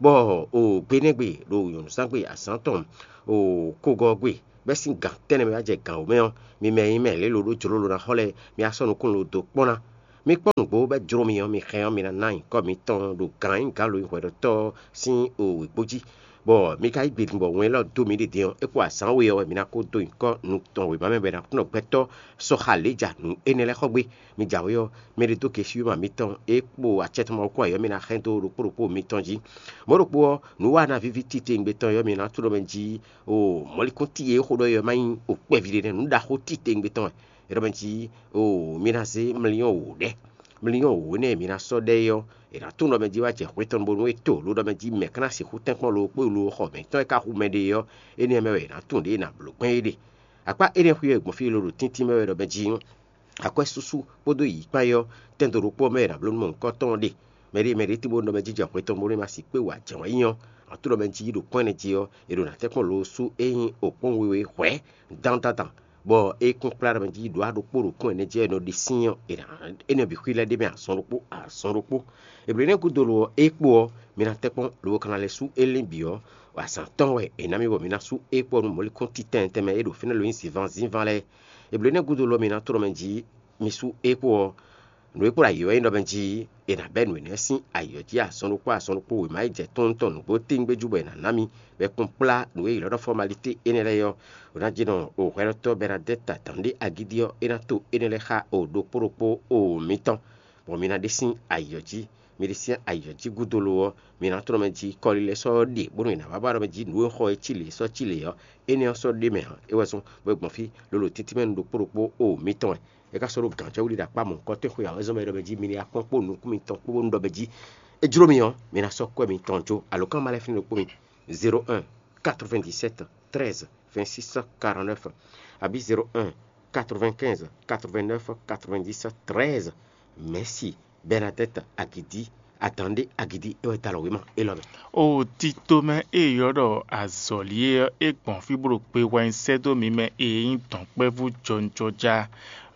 bɔ o gbe énɛ́ gbe ɖo nyɔ̌nuzángbe azǎn tɔn o kogɔ́ gbe bɛ́ sín gan tɛ́nnɛ mɛ wá jɛ gan wǒ mɛ ɔ́, mi mɛ e nyí mɛ lě lo ɖó jlǒ lo ná xɔ lɛ́ɛ, mi wá sɔ́ nukún lo dó kpɔ́n ná. Mi kpɔ́n nǔgbó bɔ é jló mi ɔ́, mi hɛn ɔ́, mi ná ná nyǐkɔ mitɔn ɖo gǎn e nyí gǎn lo e hwɛɖɔtɔ́ ɔ́ sín wěgbó jí, bɔ mi ka yí gbe din bɔ wɛn élɔ́ dó mi ɖe din ɔ́, é kpo azǎn we ɔ́ wɛ mi ná ko dó nyǐkɔ nu tɔn wěma mɛ bɔ è nǎ kplɔ́n gbɛtɔ́ sɔxa lě ja nǔ énɛ́ lɛ́ɛ xɔ gbé. Mi jǎwe ɔ́, mɛ ɖé dó gesiyúma mitɔn e kpo acɛ tɔn ma wú kpó ayǐ ɔ́, mi ná hɛn dó ɖokpó ɖokpó mitɔn jí. Mɔ̌ ɖokpó ɔ́, nǔ wa ná víví titewungbe tɔn ɔ́, mi ná tló mɛ jí o mɔ̌likún ti e é xo ɖɔ é ɔ́ ma nyí o kpɛví ɖé nɛ́, nǔ ɖaxó titewungbe tɔn wɛ. É ɖɔ mɛ jí o mi ná zé mliyɔn wǒ ɖɛ. Mliyɔn wǒ énɛ́ e mi ná sɔ́ ɖɛ é ɔ́, è nǎ tunwun ɖɔ mɛ jí wá jɛ hwetɔn bónú é to, lǒ ɖɔ mɛ jí mɛ̌ ka ná sixú tɛ́nkpɔ́n lo kpó lo xɔ mɛ̌tɔn e ka hu mɛ ɖe é ɔ́, énɛ́ mɛ wɛ è nǎ tunwun ɖě è nǎ bló gbɛn é ɖe. Akpá énɛ́ xwí wɛ gbɔn fí e lo ɖo tíntín mɛ wɛ ɖɔ mɛ jí akwɛ́súsú kpódó yǐyí kpán é ɔ́, tɛndo ɖokpó ɔ́ mɛ è nǎ bló nú mɔ̌hunkɔtɔn ɔ́ ɖe. Mɛɖé mɛɖé tín bó nɔ mɛ jí jɛ hwetɔn bónú é ma sixú kpé wa jɛ̌n wá nyí ɔ́, aklúnɔ mɛ jí ɖo kpɔ́n ɛnɛ jí ɔ́, è ɖo nǎ tɛ́nkpɔ́n lo sú é nyí okpɔ́n we wɛ hwɛ̌ dandan, bɔ é kún kplá ɖɔ mɛ jí ɖó aɖokpó ɖo kún ɛnɛ jí ɔ́, è nɔ ɖe sín ɔ́, è nǎ énɛ́ bǐ xwí lɛ́ ɖ'é mɛ azɔn ɖokpó azɔn ɖokpó. Eblénɛ́ gúdo lo ɔ́, é kpo ɔ́, mi ná tɛ́nkpɔ́n lobo ka ná lɛ́ sú é lɛ́n bǐ ɔ́, azǎn tɔn wɛ è nǎ mì bɔ mi ná sú é kpɔ́ nú mɔ̌likún titɛn tɛnmɛ e ɖo fínɛ́ lo nyí zǐnván zínván lɛ́ɛ. Eblénɛ́ gúdo lo ɔ́, mi ná tlɔ́ mɛ jí mi sú é kpo ɔ́, nǔ e kpo ɖo ayǐ wɛ nyí ɖɔ mɛ jí è nǎ bɛ́ nǔ énɛ́ sín ayǐ ɔ́ jí azɔn ɖokpó azɔn ɖokpó wěma e jɛ tɔ́n tɔn nǔgbó tɛ́ngbé jú bɔ è nǎ ná mi, bɔ è kún kplá nǔ e è ylɔ́ ɖɔ fɔmalité énɛ́ lɛ́ɛ ɔ́, ɖo ná jí nɔ o hwɛɖɔtɔ́ Bɛnadɛ́ta dǎn ɖé agídí ɔ́, é ná to énɛ́ lɛ́ɛ xá o ɖokpó ɖokpó o mitɔn, bɔ mi ná ɖe sín ayǐ ɔ́ jí. Mi ɖe sín ayǐ ɔ́ jí gúdo lo ɔ́, mi ná tlɔ́n mɛ jí kɔlilɛ sɔ́ ɖe, bónú è nǎ wá ba ɖɔ mɛ jí nǔ e xɔ é cí lě sɔ́ cí lě ɔ́, énɛ́ ɔ́ sɔ́ ɖ'é mɛ ǎ. É wɛ zɔ́n bɔ é gbɔn fí lolo títí mɛ nu ɖokpó ɖokpó o mitɔn wɛ. É ka sɔ́ ɖó gǎnjɛwú ɖi ɖo akpá mɔ̌hunkɔtɔn e xwe ǎ wɛ zɔ́n mɛ ɖɔ mɛ jí mi ní wá kpɔ́n kpó nukún mitɔn kpó bónú ɖɔ mɛ jí é jló mi ɔ́, mi ná sɔ́ kwɛ́ mitɔn jó. Alǒkan ma lɛ́ɛ fínɛ́ ɖokpó mi: zéro un quatre-vingt-dix-sept treize vingt-six quarante-neuf, abǐ zéro un quatre-vingt-quinze quatre-vingt-neuf quatre-vingt-dix treize. Mɛ̌si Bɛnadɛ́t Agidi, adǎn ɖé Agidi é wɛ dó alɔ wěma élɔ́ mɛ. O tito mɛ e è ylɔ́ ɖɔ azɔ̌li é ɔ́, é gbɔn fí bó ɖo gbe hwɛ nyi sɛ́ dó mi mɛ e nyí dɔ̌nkpɛvú jɔnjɔja,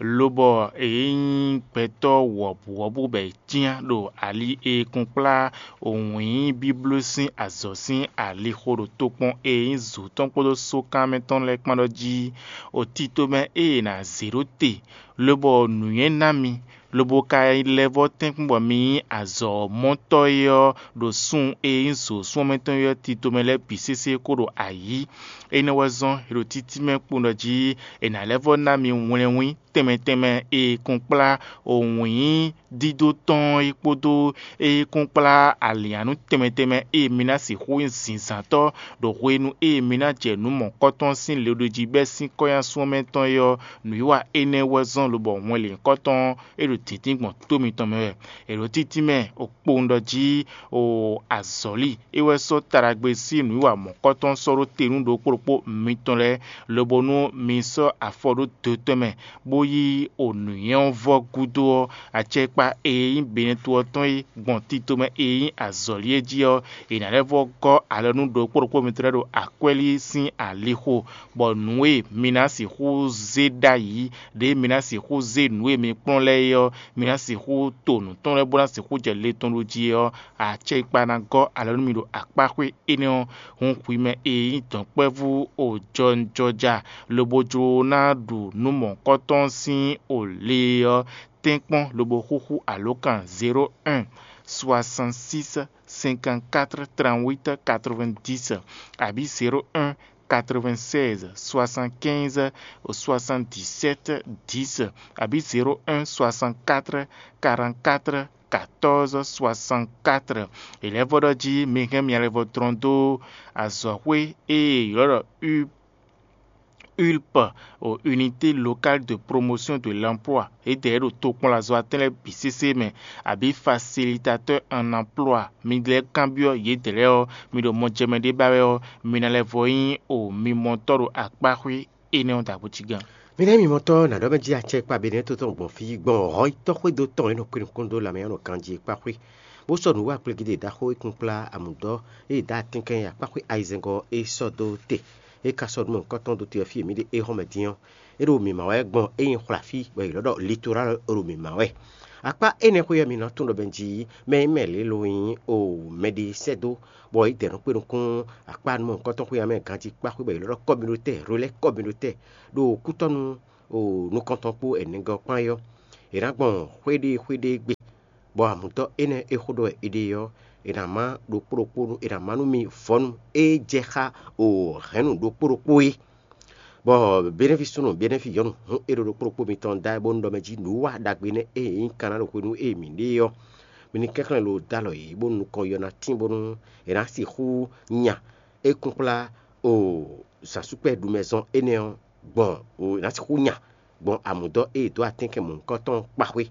lobɔ e nyí gbɛtɔ́ wɔ̌buwɔ́bú bɔ è cyán ɖo ali e è kun kplá wǐin bíbló sín azɔ̌ sín alixo ɖo tokpɔn e nyí zǒ tɔn kpódó sókan mɛ tɔn lɛ́ɛ kpán ɖɔ jí. O tito mɛ e è nǎ zě ɖó te, lobɔ nǔnywɛ́ ná mi, lobo ka lɛ́ vɔ́ tɛ́nkpɔ́n bɔ mi nyí azɔ̌mɔtɔ́ é ɔ́, ɖo sun e nyí zǒ súnmɔ́mɛtɔn é ɔ́ tito mɛ lɛ́ɛ bǐ sésé kó ɖo ayǐ. Énɛ́ wɛ zɔ́n è ɖo títí mɛ kpowun ɖɔ jí è nǎ lɛ́ vɔ́ ná mi wlɛnwín tɛnmɛ tɛnmɛ e è kun kplá wǐin dídó tɔn é kpódó e kún kplá alǐnnyánú tɛnmɛ tɛnmɛ e mi ná sixú nyí zǐnzántɔ́ ɖo hwenu e mi ná jɛ nǔ mɔ̌kɔtɔn sín le ɖo jí bɛ́ sín kɔ́nyásun ɔ́ mɛ tɔn é ɔ́, nǔwiwa énɛ́ wɛ zɔ́n lobɔ wɛn lěhunkɔtɔn ɔ́, é ɖo dǐndín gbɔn tó mitɔn mɛ wɛ. È ɖǒ títí mɛ kpowun ɖɔ jí o azɔ̌li é wɛ sɔ́ taɖagbe sín nǔwiwa mɔ̌kɔtɔn sɔ́ ɖó te nú ɖokpó ɖokpó mitɔn lɛ́ɛ, lobo nú mi sɔ́ afɔ ɖó dotɔ́ mɛ, bó yí o nǔnywɛ́ ɔ́ vɔ́ gúdo ɔ́, acɛkpa e nyí Benɛ́to ɔ́ tɔn é gbɔn tito mɛ e nyí azɔ̌li é jí ɔ́, è nǎ lɛ́ vɔ́ gɔ́ alɔ nú ɖokpó ɖokpó mitɔn lɛ́ɛ ɖo akwɛ́lí sín alixo, bɔ nǔ e mi ná sixú zé ɖ'ayǐ, ɖěe mi ná sixú zé nǔ e mi kplɔ́n lɛ́ɛ é ɔ́, mi ná sixú to nǔ tɔn lɛ́ɛ bó ná sixú jɛ le tɔn ɖó jí é ɔ́, acɛkpa ná gɔ́ alɔ nú mi ɖo akpáxwé énɛ́ ɔ́. Hun xwi mɛ e nyí dɔ̌nkpɛvú o jɔnjɔja, lobo jló ná ɖu nǔ mɔ̌hunkɔtɔn sín o le ɔ́, tɛ́nkpɔ́n lobo xúxú alǒkan zéro un soixante-six cinquante-quatre trente-huit quatre-vingt-dix, abǐ zéro un quatre-vingt-seize soixante-quinze soixante-dix-sept dix, abǐ zéro un soixante-quatre quarante-quatre quatorze soixante-quatre. È lɛ́ vɔ́ ɖɔ jí mi hɛn mia lɛ́ vɔ́ tlɔ́n dó azɔ̌xwé e è ylɔ́ ɖɔ U ULP, o Unité Locale de Promotion de l'Emploi, yědɛɛ ɖo tokpɔnlazɔ́watɛn lɛ́ɛ bǐ sésé mɛ, abǐ Facilitateur en Emploi, mi lɛ́ kanbyɔ́ yědɛɛ lɛ́ɛ ɔ́, mi ɖo mɔjɛmɛ ɖé ba wɛ ɔ́, mi ná lɛ́ vɔ́ nyí o mimɔtɔ́ ɖo akpáxwé énɛ́ ɔ́ ɖagbe jí gán. Mi ná nyí mimɔtɔ́ ná ɖɔ mɛ jí acɛkpa Benɛ́to tɔn gbɔn fí gbɔn hɔn yi tɔ́xwédo tɔn e nɔ kpé nukún dó lanmɛ ɔ́ nɔ ganjí e kpáxwé, bó sɔ́ nǔwiwa kplígídé ɖaxó e kún kplá amǔdɔ́ e è dó atínkan e akpáxwé ayizɛ́ngɔ́ é sɔ́ dó te. É ka sɔ́ nǔ mɔ̌hunkɔtɔn dó te ɔ́ fí e mǐ ɖe é xɔ́ mɛ din ɔ́, é ɖo mǐmá wɛ gbɔn é nyí xwlafí bɔ è ylɔ́ ɖɔ Litoral ɖo mǐmá wɛ. Akpá énɛ́ xwé ɔ́, mi ná tunwun ɖɔ mɛ jí mɛ e mɛ lě lo nyí o mɛɖé sɛ́ dó, bɔ é dɛ nɔ kpé nukún akpá nú mɔ̌hunkɔtɔn xwé ɔ́ mɛ ganjí kpá xwé bɔ è ylɔ́ ɖɔ Communautaire, Relais Communautaire, ɖo kútɔ́nú o nukɔntɔn kpó ɛnɛgɔ́ kpán é ɔ́. È nǎ gbɔn xwéɖée xwéɖée gbe, bɔ amǔtɔ́ énɛ́ e xó ɖɔ wɛ è ɖe ɔ́, è nǎ má ɖokpó ɖokpó nú è nǎ má nú mi vɔ̌nu e jɛ xá o hɛ̌nnu ɖokpó ɖokpó é. Bɔ Benɛ́fi súnnu Benɛ́fi nyɔ̌nu hǔn é ɖo ɖokpó ɖokpó mitɔn da wɛ bónú ɖɔ mɛ jí nǔwiwa ɖagbe nɛ́ e nyí Kaná ɖo hwenu e mǐ ɖe é ɔ́, mi ní kɛnklɛ́n lo dó alɔ yě bónú nukɔn yɔ ná tín bónú è nǎ sixú nya é kúnkplá o zǎnsúkpɛ́ ɖu mɛ zɔn énɛ́ ɔ́ gbɔn è nǎ sixú nya gbɔn amǔdɔ́ e è dǒ atɛ́nkɛn mɔ̌hunkɔtɔn ɔ́ kpa xwé.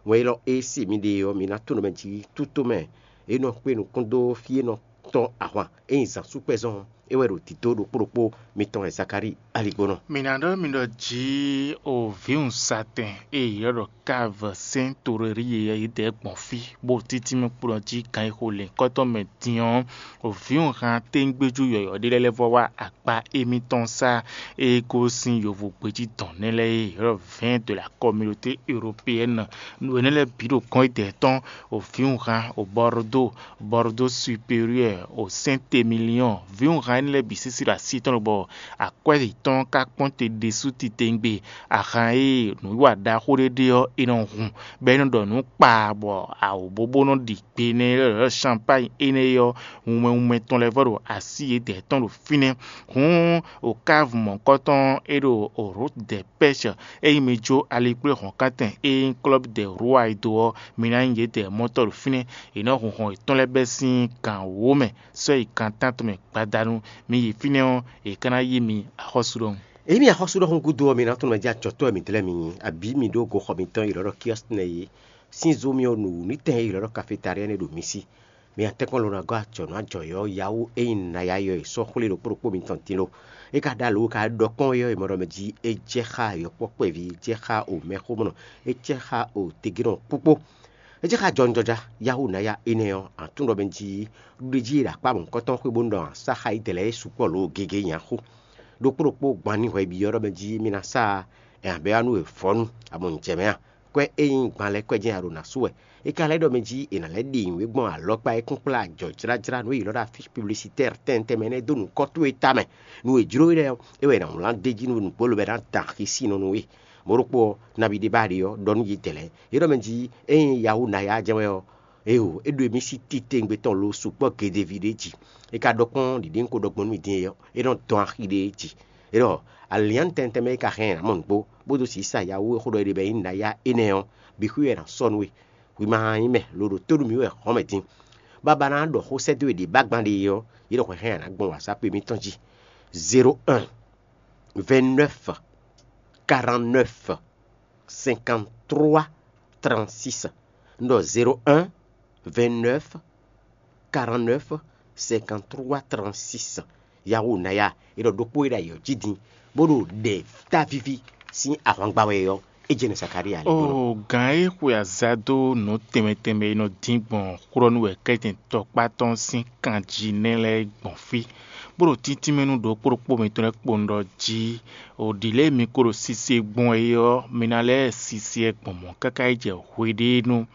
Wɛn élɔ́ e se mi ɖe ɔ́, mi ná tunwun mɛ jí tútomɛ e nɔ kpé nukún dó fí e nɔ tɔ́n ahwan e nyi zǎnsúkpɛ́ zɔn ɔ́, é wɛ ɖo dǐdó ɖokpó ɖokpó mitɔn wɛ Zakalíi aligbónɔ. Mǐ ná ɖɔ mi ɖɔ jǐ o vǐwunzatɛn e è ylɔ́ ɖɔ Káv sɛ́n toɖeɖíe ɔ́ yi dɛ̌ gbɔn fí, bó títí mɛ kplɔ́n jí gan e xo lɛ̌nkɔ́tɔn mɛ din ɔ́, o vǐwunhan téńgbéjú yɔ̌yɔ́ ɖé lɛ́ɛ lɛ́ vɔ wá akpa émítɔn sá e gosín yovogbe jí dɔn nɛ́ lɛ́ɛ é, ylɔ́ vɛ̌ɛn de la kɔmilóté européɛ́ni. Nǔ énɛ́ lɛ́ɛ bǐ ɖo gɔ́n yi dɛ̌ tɔn, o vǐwunhan o Bɔrdó, Bɔrdó superiwɛ́ɛ, o Sɛ́ntemiliɔ́n, vǐwunhan énɛ́ lɛ́ɛ bǐ sísí ɖo así tɔn lobɔ akwɛ́ yětɔn ka kpɔ́n te ɖésú titewungbe. Ahan e nǔwiwa ɖaxó ɖé ɖe ɔ́, è nɔ hun, bɔ é nɔ ɖɔ nǔ kpaa, bɔ awǒbóbó nɔ ɖi gbe nɛ́ lɛ́ɛ lɔ̌ champány énɛ́ ɔ́, wunmɛ wunmɛ tɔn lɛ́ɛ vɔ ɖo así yědɛɛ tɔn ɖo fínɛ́. Hǔn, Okáv mɔ̌hunkɔtɔn e ɖo Rǒt dɛ Pɛ́sɛ, ényí mi jó alikplé hɔ̌nkántɛn e nyí klɔ́bú dɛ Rúwa e dó ɔ́, mi ná nyí yědɛɛ mɔtɔ́ ɖo fínɛ́. È nɔ́ hun hɔn yětɔn lɛ́ɛ bɛ́ sín gan wǒ mɛ, sɔ́ yi gan tántɔn mɛ gbadanu. Mi yi fínɛ́ ɔ́, è ka ná yí mi axɔ́sú ɖɔhun. Ényí mi axɔ́sú ɖɔhun gúdo ɔ́, mi ná tunwun mɛ jí acɔ̌tɔ́ wɛ mi dlɛ́ mi nyí, abǐ mi ɖó goxɔ mitɔn e è ylɔ́ ɖɔ Kiɔ́sitɛn é, sín zó mì ɔ́, nǔnítɛn e è ylɔ́ ɖɔ kafetalíɛ́n é ɖo mi sí. Mi atɛ́nkpɔ́n ló ná gɔ́ acɔ̌ nú ajɔ̌ ɔ́, Yawú e nyí naya ɔ́, è sɔ́ xwlé ɖokpó ɖokpó mitɔn din lo. É ka ɖó alǒ ka ɖɔ kpɔ́n é ɔ́, è mɔ ɖɔ mɛ jí é jɛ xá yɔkpɔ́ kpɛví, é jɛ xá omɛxómɔnɔ, é jɛ xá otegénɔ kpókpó. É jɛ xá jɔwunjɔja Yawú naya énɛ́ ɔ́, a tunwun ɖɔ mɛ jí ɖuɖéjí e ɖo akpá mɔ̌hunkɔtɔn xwé bónú ɖɔ a sá xá yědɛɛ lɛ́ɛ é sukpɔ́ lǒ gěgé nyi axú. Ɖokpó ɖokpó gban ní hwɛ byɔ́ ɖɔ mɛ jí mi ná sá ɛ abɛ wá nú e vɔ̌nu, a mɔ nǔ jɛ mɛ a? Kwɛ́ e nyí gban lɛ́ɛ kwɛ́ jɛ́n a ɖo ná sú wɛ. É ka lɛ́ ɖɔ mɛ jí è nǎ lɛ́ ɖe nǔ e gbɔn alɔkpa e kún kplá ajɔ̌jlájlá nǔ e yě ylɔ́ ɖɔ afísi publisitɛ́r tɛntɛn mɛ nɛ́ dó nǔkɔ́ towe tamɛ. Nú è jló we lɛ́ɛ ɔ́, é wɛ è nǎ wlán d'é jí nú nǔgbó lobo ná da axi sín nɔ nú we. Mɔ̌ ɖokpó ɔ́, nabí ɖé ba ɖe ɔ́, ɖɔ nú yědɛɛ lɛ́ɛ. É ɖɔ mɛ jí ényí Yawú ná yá jɛ́n wɛ ɔ́, éeǒ, é ɖo émí sí titewungbe tɔn lo sukpɔ́ gedeví ɖé jí. É ka ɖɔ kpɔ́n ɖiɖě un ko ɖɔ gbɔn nú mi din é ɔ́, é nɔ dɔn axi ɖé jí. É ɖɔ, alyǎn tɛntɛn mɛ é ka hɛn ǎ mɔ nǔgbó, bó dó sǐ sa Yawú e xó ɖɔ é ɖe bɔ é nyí nayá énɛ́ ɔ́, bǐ xwí wɛ è nǎ sɔ́ nú we. Hwi ma nyí mɛ, loɖo tó ɖu mì wɛ hɔn mɛ din. Baba ná ɖɔ xó sɛ́ dó we ɖě bá gban ɖe é ɔ́, yě ɖo hwɛ̌hɛn a nǎ gbɔn WhatsApp mitɔn jí. Zéro un, vingt neuf, quarante neuf, cinquante trois, trente six. Un ɖɔ zéro un, vingt neuf, quarante neuf, cinquante trois, trente six. Yawú naya, é ɖɔ ɖokpó e ɖo ayǐ ɔ́ jí din, bó ɖo ɖɛ távíví sín ahwangba wɛ ɔ́, é jɛ nú Zakalíi aligbó nɔ. O gǎn e xwe azǎn dó nǔ tɛnmɛ tɛnmɛ e nɔ dín gbɔn xwlɔ́nú wɛ kɛ́tɛn tɔkpá tɔn sín kan jí nɛ́ lɛ́ɛ gbɔn fí, bó ɖo títínmɛ nú ɖokpó ɖokpó mitɔn lɛ́ɛ kpowun ɖɔ jí, o ɖǐ lɛ́ɛ mi ko ɖo sise gbɔn é ɔ́, mi ná lɛ́ sise ɛ gbɔn mɔ̌ káká yi jɛ hweɖénu.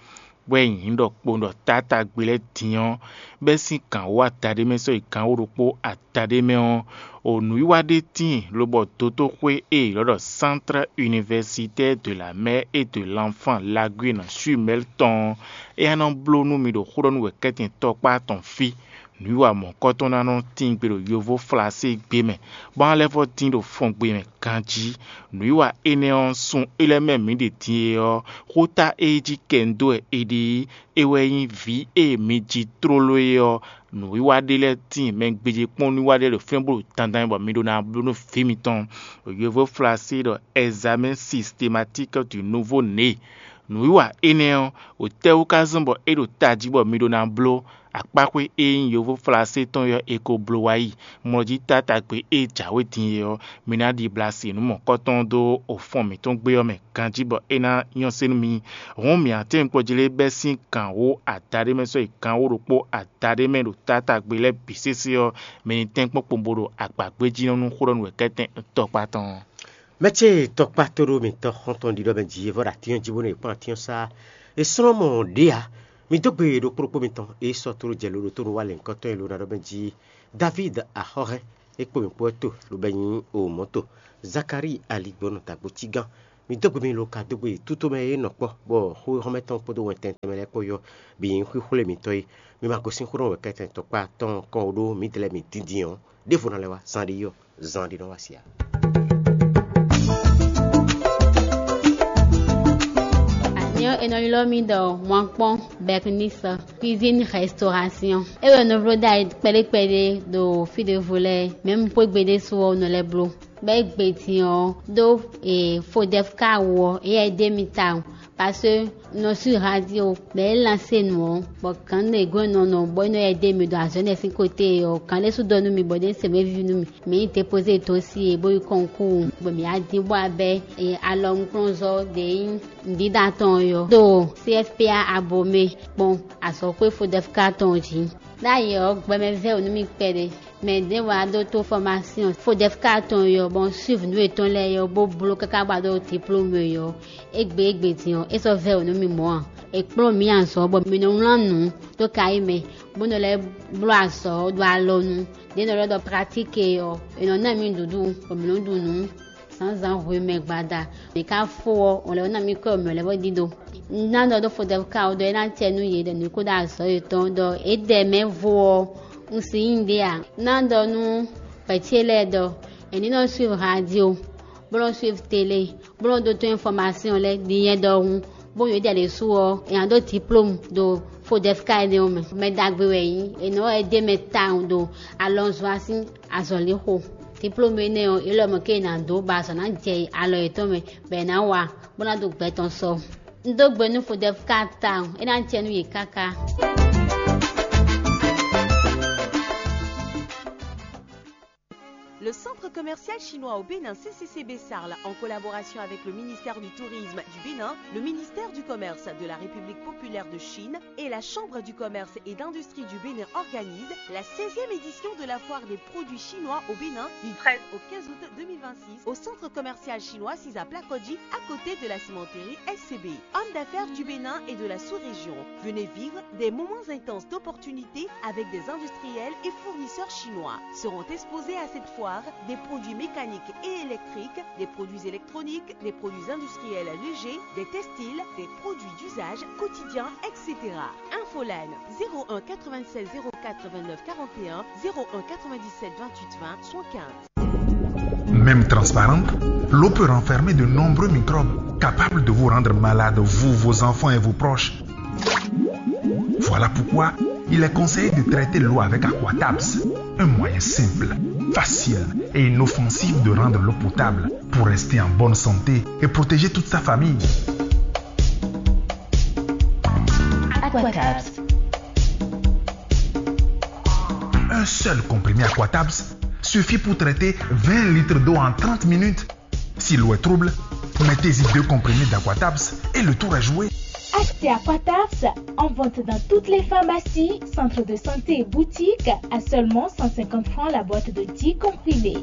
Bɔ é nyí ɖɔ kpowun ɖɔ taátagbe lɛ́ɛ din ɔ́, bɛ́ sín gǎnwó adaɖé mɛ sɔ́ yi gǎnwó ɖokpó adaɖé mɛ ɔ́, o nǔwiwa ɖé tíin lobɔ dotóxwé e è ylɔ́ ɖɔ Centre Universitaire de la Mère et de l'Enfant Laguine Chumel tɔn ɔ́, é ná nɔ bló nú mi ɖo xó ɖɔ nú wɛ kɛ́tɛn tɔkpá tɔn fí. Nǔwiwa mɔ̌hunkɔtɔn ná nɔ tín gbe ɖo yovó Flaséegbe mɛ, bɔ ná lɛ́ vɔ́ dín ɖo fɔngbe mɛ ganjí. Nǔwiwa énɛ́ ɔ́, sun é lɛ́ɛ mɛ mǐ ɖe din é ɔ́, xóta e jí kɛ un dó wɛ è ɖe é, é wɛ nyí vǐ e mi ji tlóló é ɔ́. Nǔwiwa ɖé lɛ́ɛ tíin mɛ gbéjé kpɔ́n nǔwiwa ɖé lɛ́ɛ ɖo fínɛ́ bó ɖo dandan bɔ mi ɖó ná bló nú vǐ mitɔn. Yovó Flasé ɖɔ examen systématique du nouveau né. Nǔwiwa énɛ́ ɔ́, wǒtɛ́wú ka zɔ́n bɔ é ɖo tají bɔ mi ɖó ná bló? Akpáxwé e nyí yovó Flasé tɔn ɔ́ è ko bló wá yi. Mlɔjí taátagbe e jǎwe din é ɔ́, mi ná ɖibla si nǔ mɔ̌kɔtɔn dó ofɔn mǐtɔn gbé ɔ́ mɛ ganjí bɔ é ná nyɔ́ sé nú mi. Hǔn mǐ atɛ́nkpɔ́n jlé bɛ́ sín gǎnwó adaɖé mɛ sɔ́ yi gǎnwó ɖokpó adaɖé mɛ ɖo taátagbe lɛ́ɛ bǐ sésé ɔ́, mi ní tɛ́nkpɔ́n kpowun bó ɖo agbǎgbéjínɔ nú xó ɖɔ nú wɛ kɛ́tɛn tɔkpá tɔn. Mɛ ce tɔkpá tóɖó mǐtɔn xɔ́ntɔn ɖiɖɔ mɛ jí é vɔ ɖo atín ɔ́ jí bónú è kpɔ́n atín ɔ́ sá. È slɔ́n mɔ ɖě ǎ. Mi dó gbe ɖokpó ɖokpó mitɔn e sɔ́ tló jɛ lo ɖo tónú wá lɛ̌ngbɔ́tɔ́ e lo ná ɖɔ mɛ jí Davíd axɔ́hɛn é kpó mǐ kpó wɛ to lobɔ é nyí omɔ̌to. Zakalíi aligbɔnɔ dagbo cígán Mi dó gbe mi lo ka dó gbe tútó mɛ e nɔ kpɔ́, bɔ xó e xɔ́mɛ tɔn kpódó wɛntɛn tɛnmɛ lɛ́ɛ kpó yɔ bǐ nyí xwíxwlé mǐtɔn é. Mi ma gosín xó ɖɔ wɛ̌kɛ́tɛn tɔkpá tɔn kɔn ó ɖó mǐdɛɛ lɛ́ɛ mi dǐndín ɔ́, ɖěvo ná lɛ́ wá, zan ɖé yɔ, zan ɖé nɔ wá si ǎ. Nyɔ è nɔ ylɔ́ mì ɖɔ Wankpɔ́n Bɛknisɔ, cuisine restauration. É wɛ nɔ bló ɖ'ayǐ kpɛɖé kpɛɖé ɖo fí ɖěvo lɛ́ɛ, mɛ̌ mu xwé gbe ɖésú ɔ́ nɔ lɛ́ bló. Bɔ é gbe din ɔ́ ɖó fodɛfka wú ɔ́, éyɛ́ é ɖe mì tawun, parce que un nɔ sú radio, bɔ é lansé nǔ ɔ́, bɔ gǎn ɖě gɔ́n nɔ nɔ bɔ é nɔ yɛ ɖe mì ɖo azɔ̌ énɛ́ sín côté ɔ́, gǎn ɖé sú ɖɔ nú mì bɔ ɖé se mɛ víví nú mì. Mǐ yi dépozé dosie bó yi kɔnkúu, bɔ mǐ wá dín bó wá bɛ́ alɔnukplɔ́nzɔ́ ɖě nyí nǔɖíɖá tɔn ɔ́ ɖo C F P A Abomey kpɔ́n azɔ̌xwé fodɛfka tɔn jí. Ɖ'ayǐ ɔ́, gbɛmɛ vɛ́ wǔ nú mì kpɛɖé. Mɛ ɖěvo wá ɖó tó fɔmásyɔn fodɛfka tɔn ɔ́, bɔ un suiv nǔ yětɔn lɛ́ɛ ɔ́, bó bló káká bó wá ɖó diplôme ɔ́, égbé égbé din ɔ́, é sɔ́ vɛ́ wǔ nú mì mɔ̌ ǎ. È kplɔ́n mǐ azɔ̌ bɔ mǐ nɔ wlán nǔ dó kayí mɛ, bó nɔ lɛ́ bló azɔ̌ ɖo alɔnu. Ɖě nɔ lɛ́ ɖɔ pratique ɔ́, è nɔ ná mì nǔɖuɖu, bɔ mǐ nɔ ɖu nǔ zǎnzǎn hwemɛ gbada. Mǐ ka fó ɔ́, ɔn lɛ́ ná mì kɔ́ mǐ lɛ́ bó ɖíɖó. Un ná ɖɔ ɖó fodɛfka ɔ́ ɖɔ é ná acɛ nú yě ɖɔ nǔ kó ɖo azɔ̌ yětɔn ɖɔ é ɖɛ mɛ vo ɔ́, un si nyí ɖé ǎ. Un ná ɖɔ nú vɛ̌ ce lɛ́ɛ ɖɔ è ní nɔ suiv radio, bó nɔ suiv télé, bó nɔ ɖótó infɔmasyɔn lɛ́ɛ ɖi nyɛ ɖɔhun, bó nyɔ̌ ɖi alě su ɔ́, è nǎ ɖó diplômu ɖo fodɛfka énɛ́ ɔ́ mɛ. Mɛ ɖagbe wɛ é nyí, è nɔ wɛ dó mɛ tawun ɖo alɔnzɔ́ sín azɔ̌lixo. Diplômu énɛ́ ɔ́, é lɔ mɔ̌ ké è nǎ dó bɔ azɔ̌ ná jɛ alɔ yětɔn mɛ, bɔ è nǎ wa, bó ná ɖo gbɛ tɔn sɔ. Un dó gbe nú fodɛfka tawun, é ná jɛ nú yě káká. Le centre commercial chinois au Bénin, C C C B Sarl, en collaboration avec le ministère du Tourisme du Bénin, le ministère du Commerce de la République populaire de Chine et la Chambre du commerce et d'industrie du Bénin, organise la seizième édition de la foire des produits chinois au Bénin du treize au quinze août deux mille vingt-six au centre commercial chinois Siza Plakodji, à côté de la cimenterie S C B. Hommes d'affaires du Bénin et de la sous-région, venez vivre des moments intenses d'opportunités avec des industriels et fournisseurs chinois. Seront exposés à cette foire des produits mécaniques et électriques, des produits électroniques, des produits industriels légers, des textiles, des produits d'usage quotidien, et cetera. Infoline, zéro un quatre-vingt-seize zéro quatre vingt-neuf quarante et un, zéro un quatre-vingt-dix-sept vingt-huit vingt soixante-quinze. Même transparente, l'eau peut renfermer de nombreux microbes capables de vous rendre malade, vous, vos enfants et vos proches. Voilà pourquoi il est conseillé de traiter l'eau avec Aquatabs, un moyen simple, facile et inoffensif de rendre l'eau potable pour rester en bonne santé et protéger toute sa famille. Aquatabs. Un seul comprimé Aquatabs suffit pour traiter vingt litres d'eau en trente minutes. Si l'eau est trouble, mettez-y deux comprimés d'Aquatabs et le tour est joué. Achetez Aquatabs en vente dans toutes les pharmacies, centres de santé et boutiques à seulement cent cinquante francs la boîte de dix comprimés.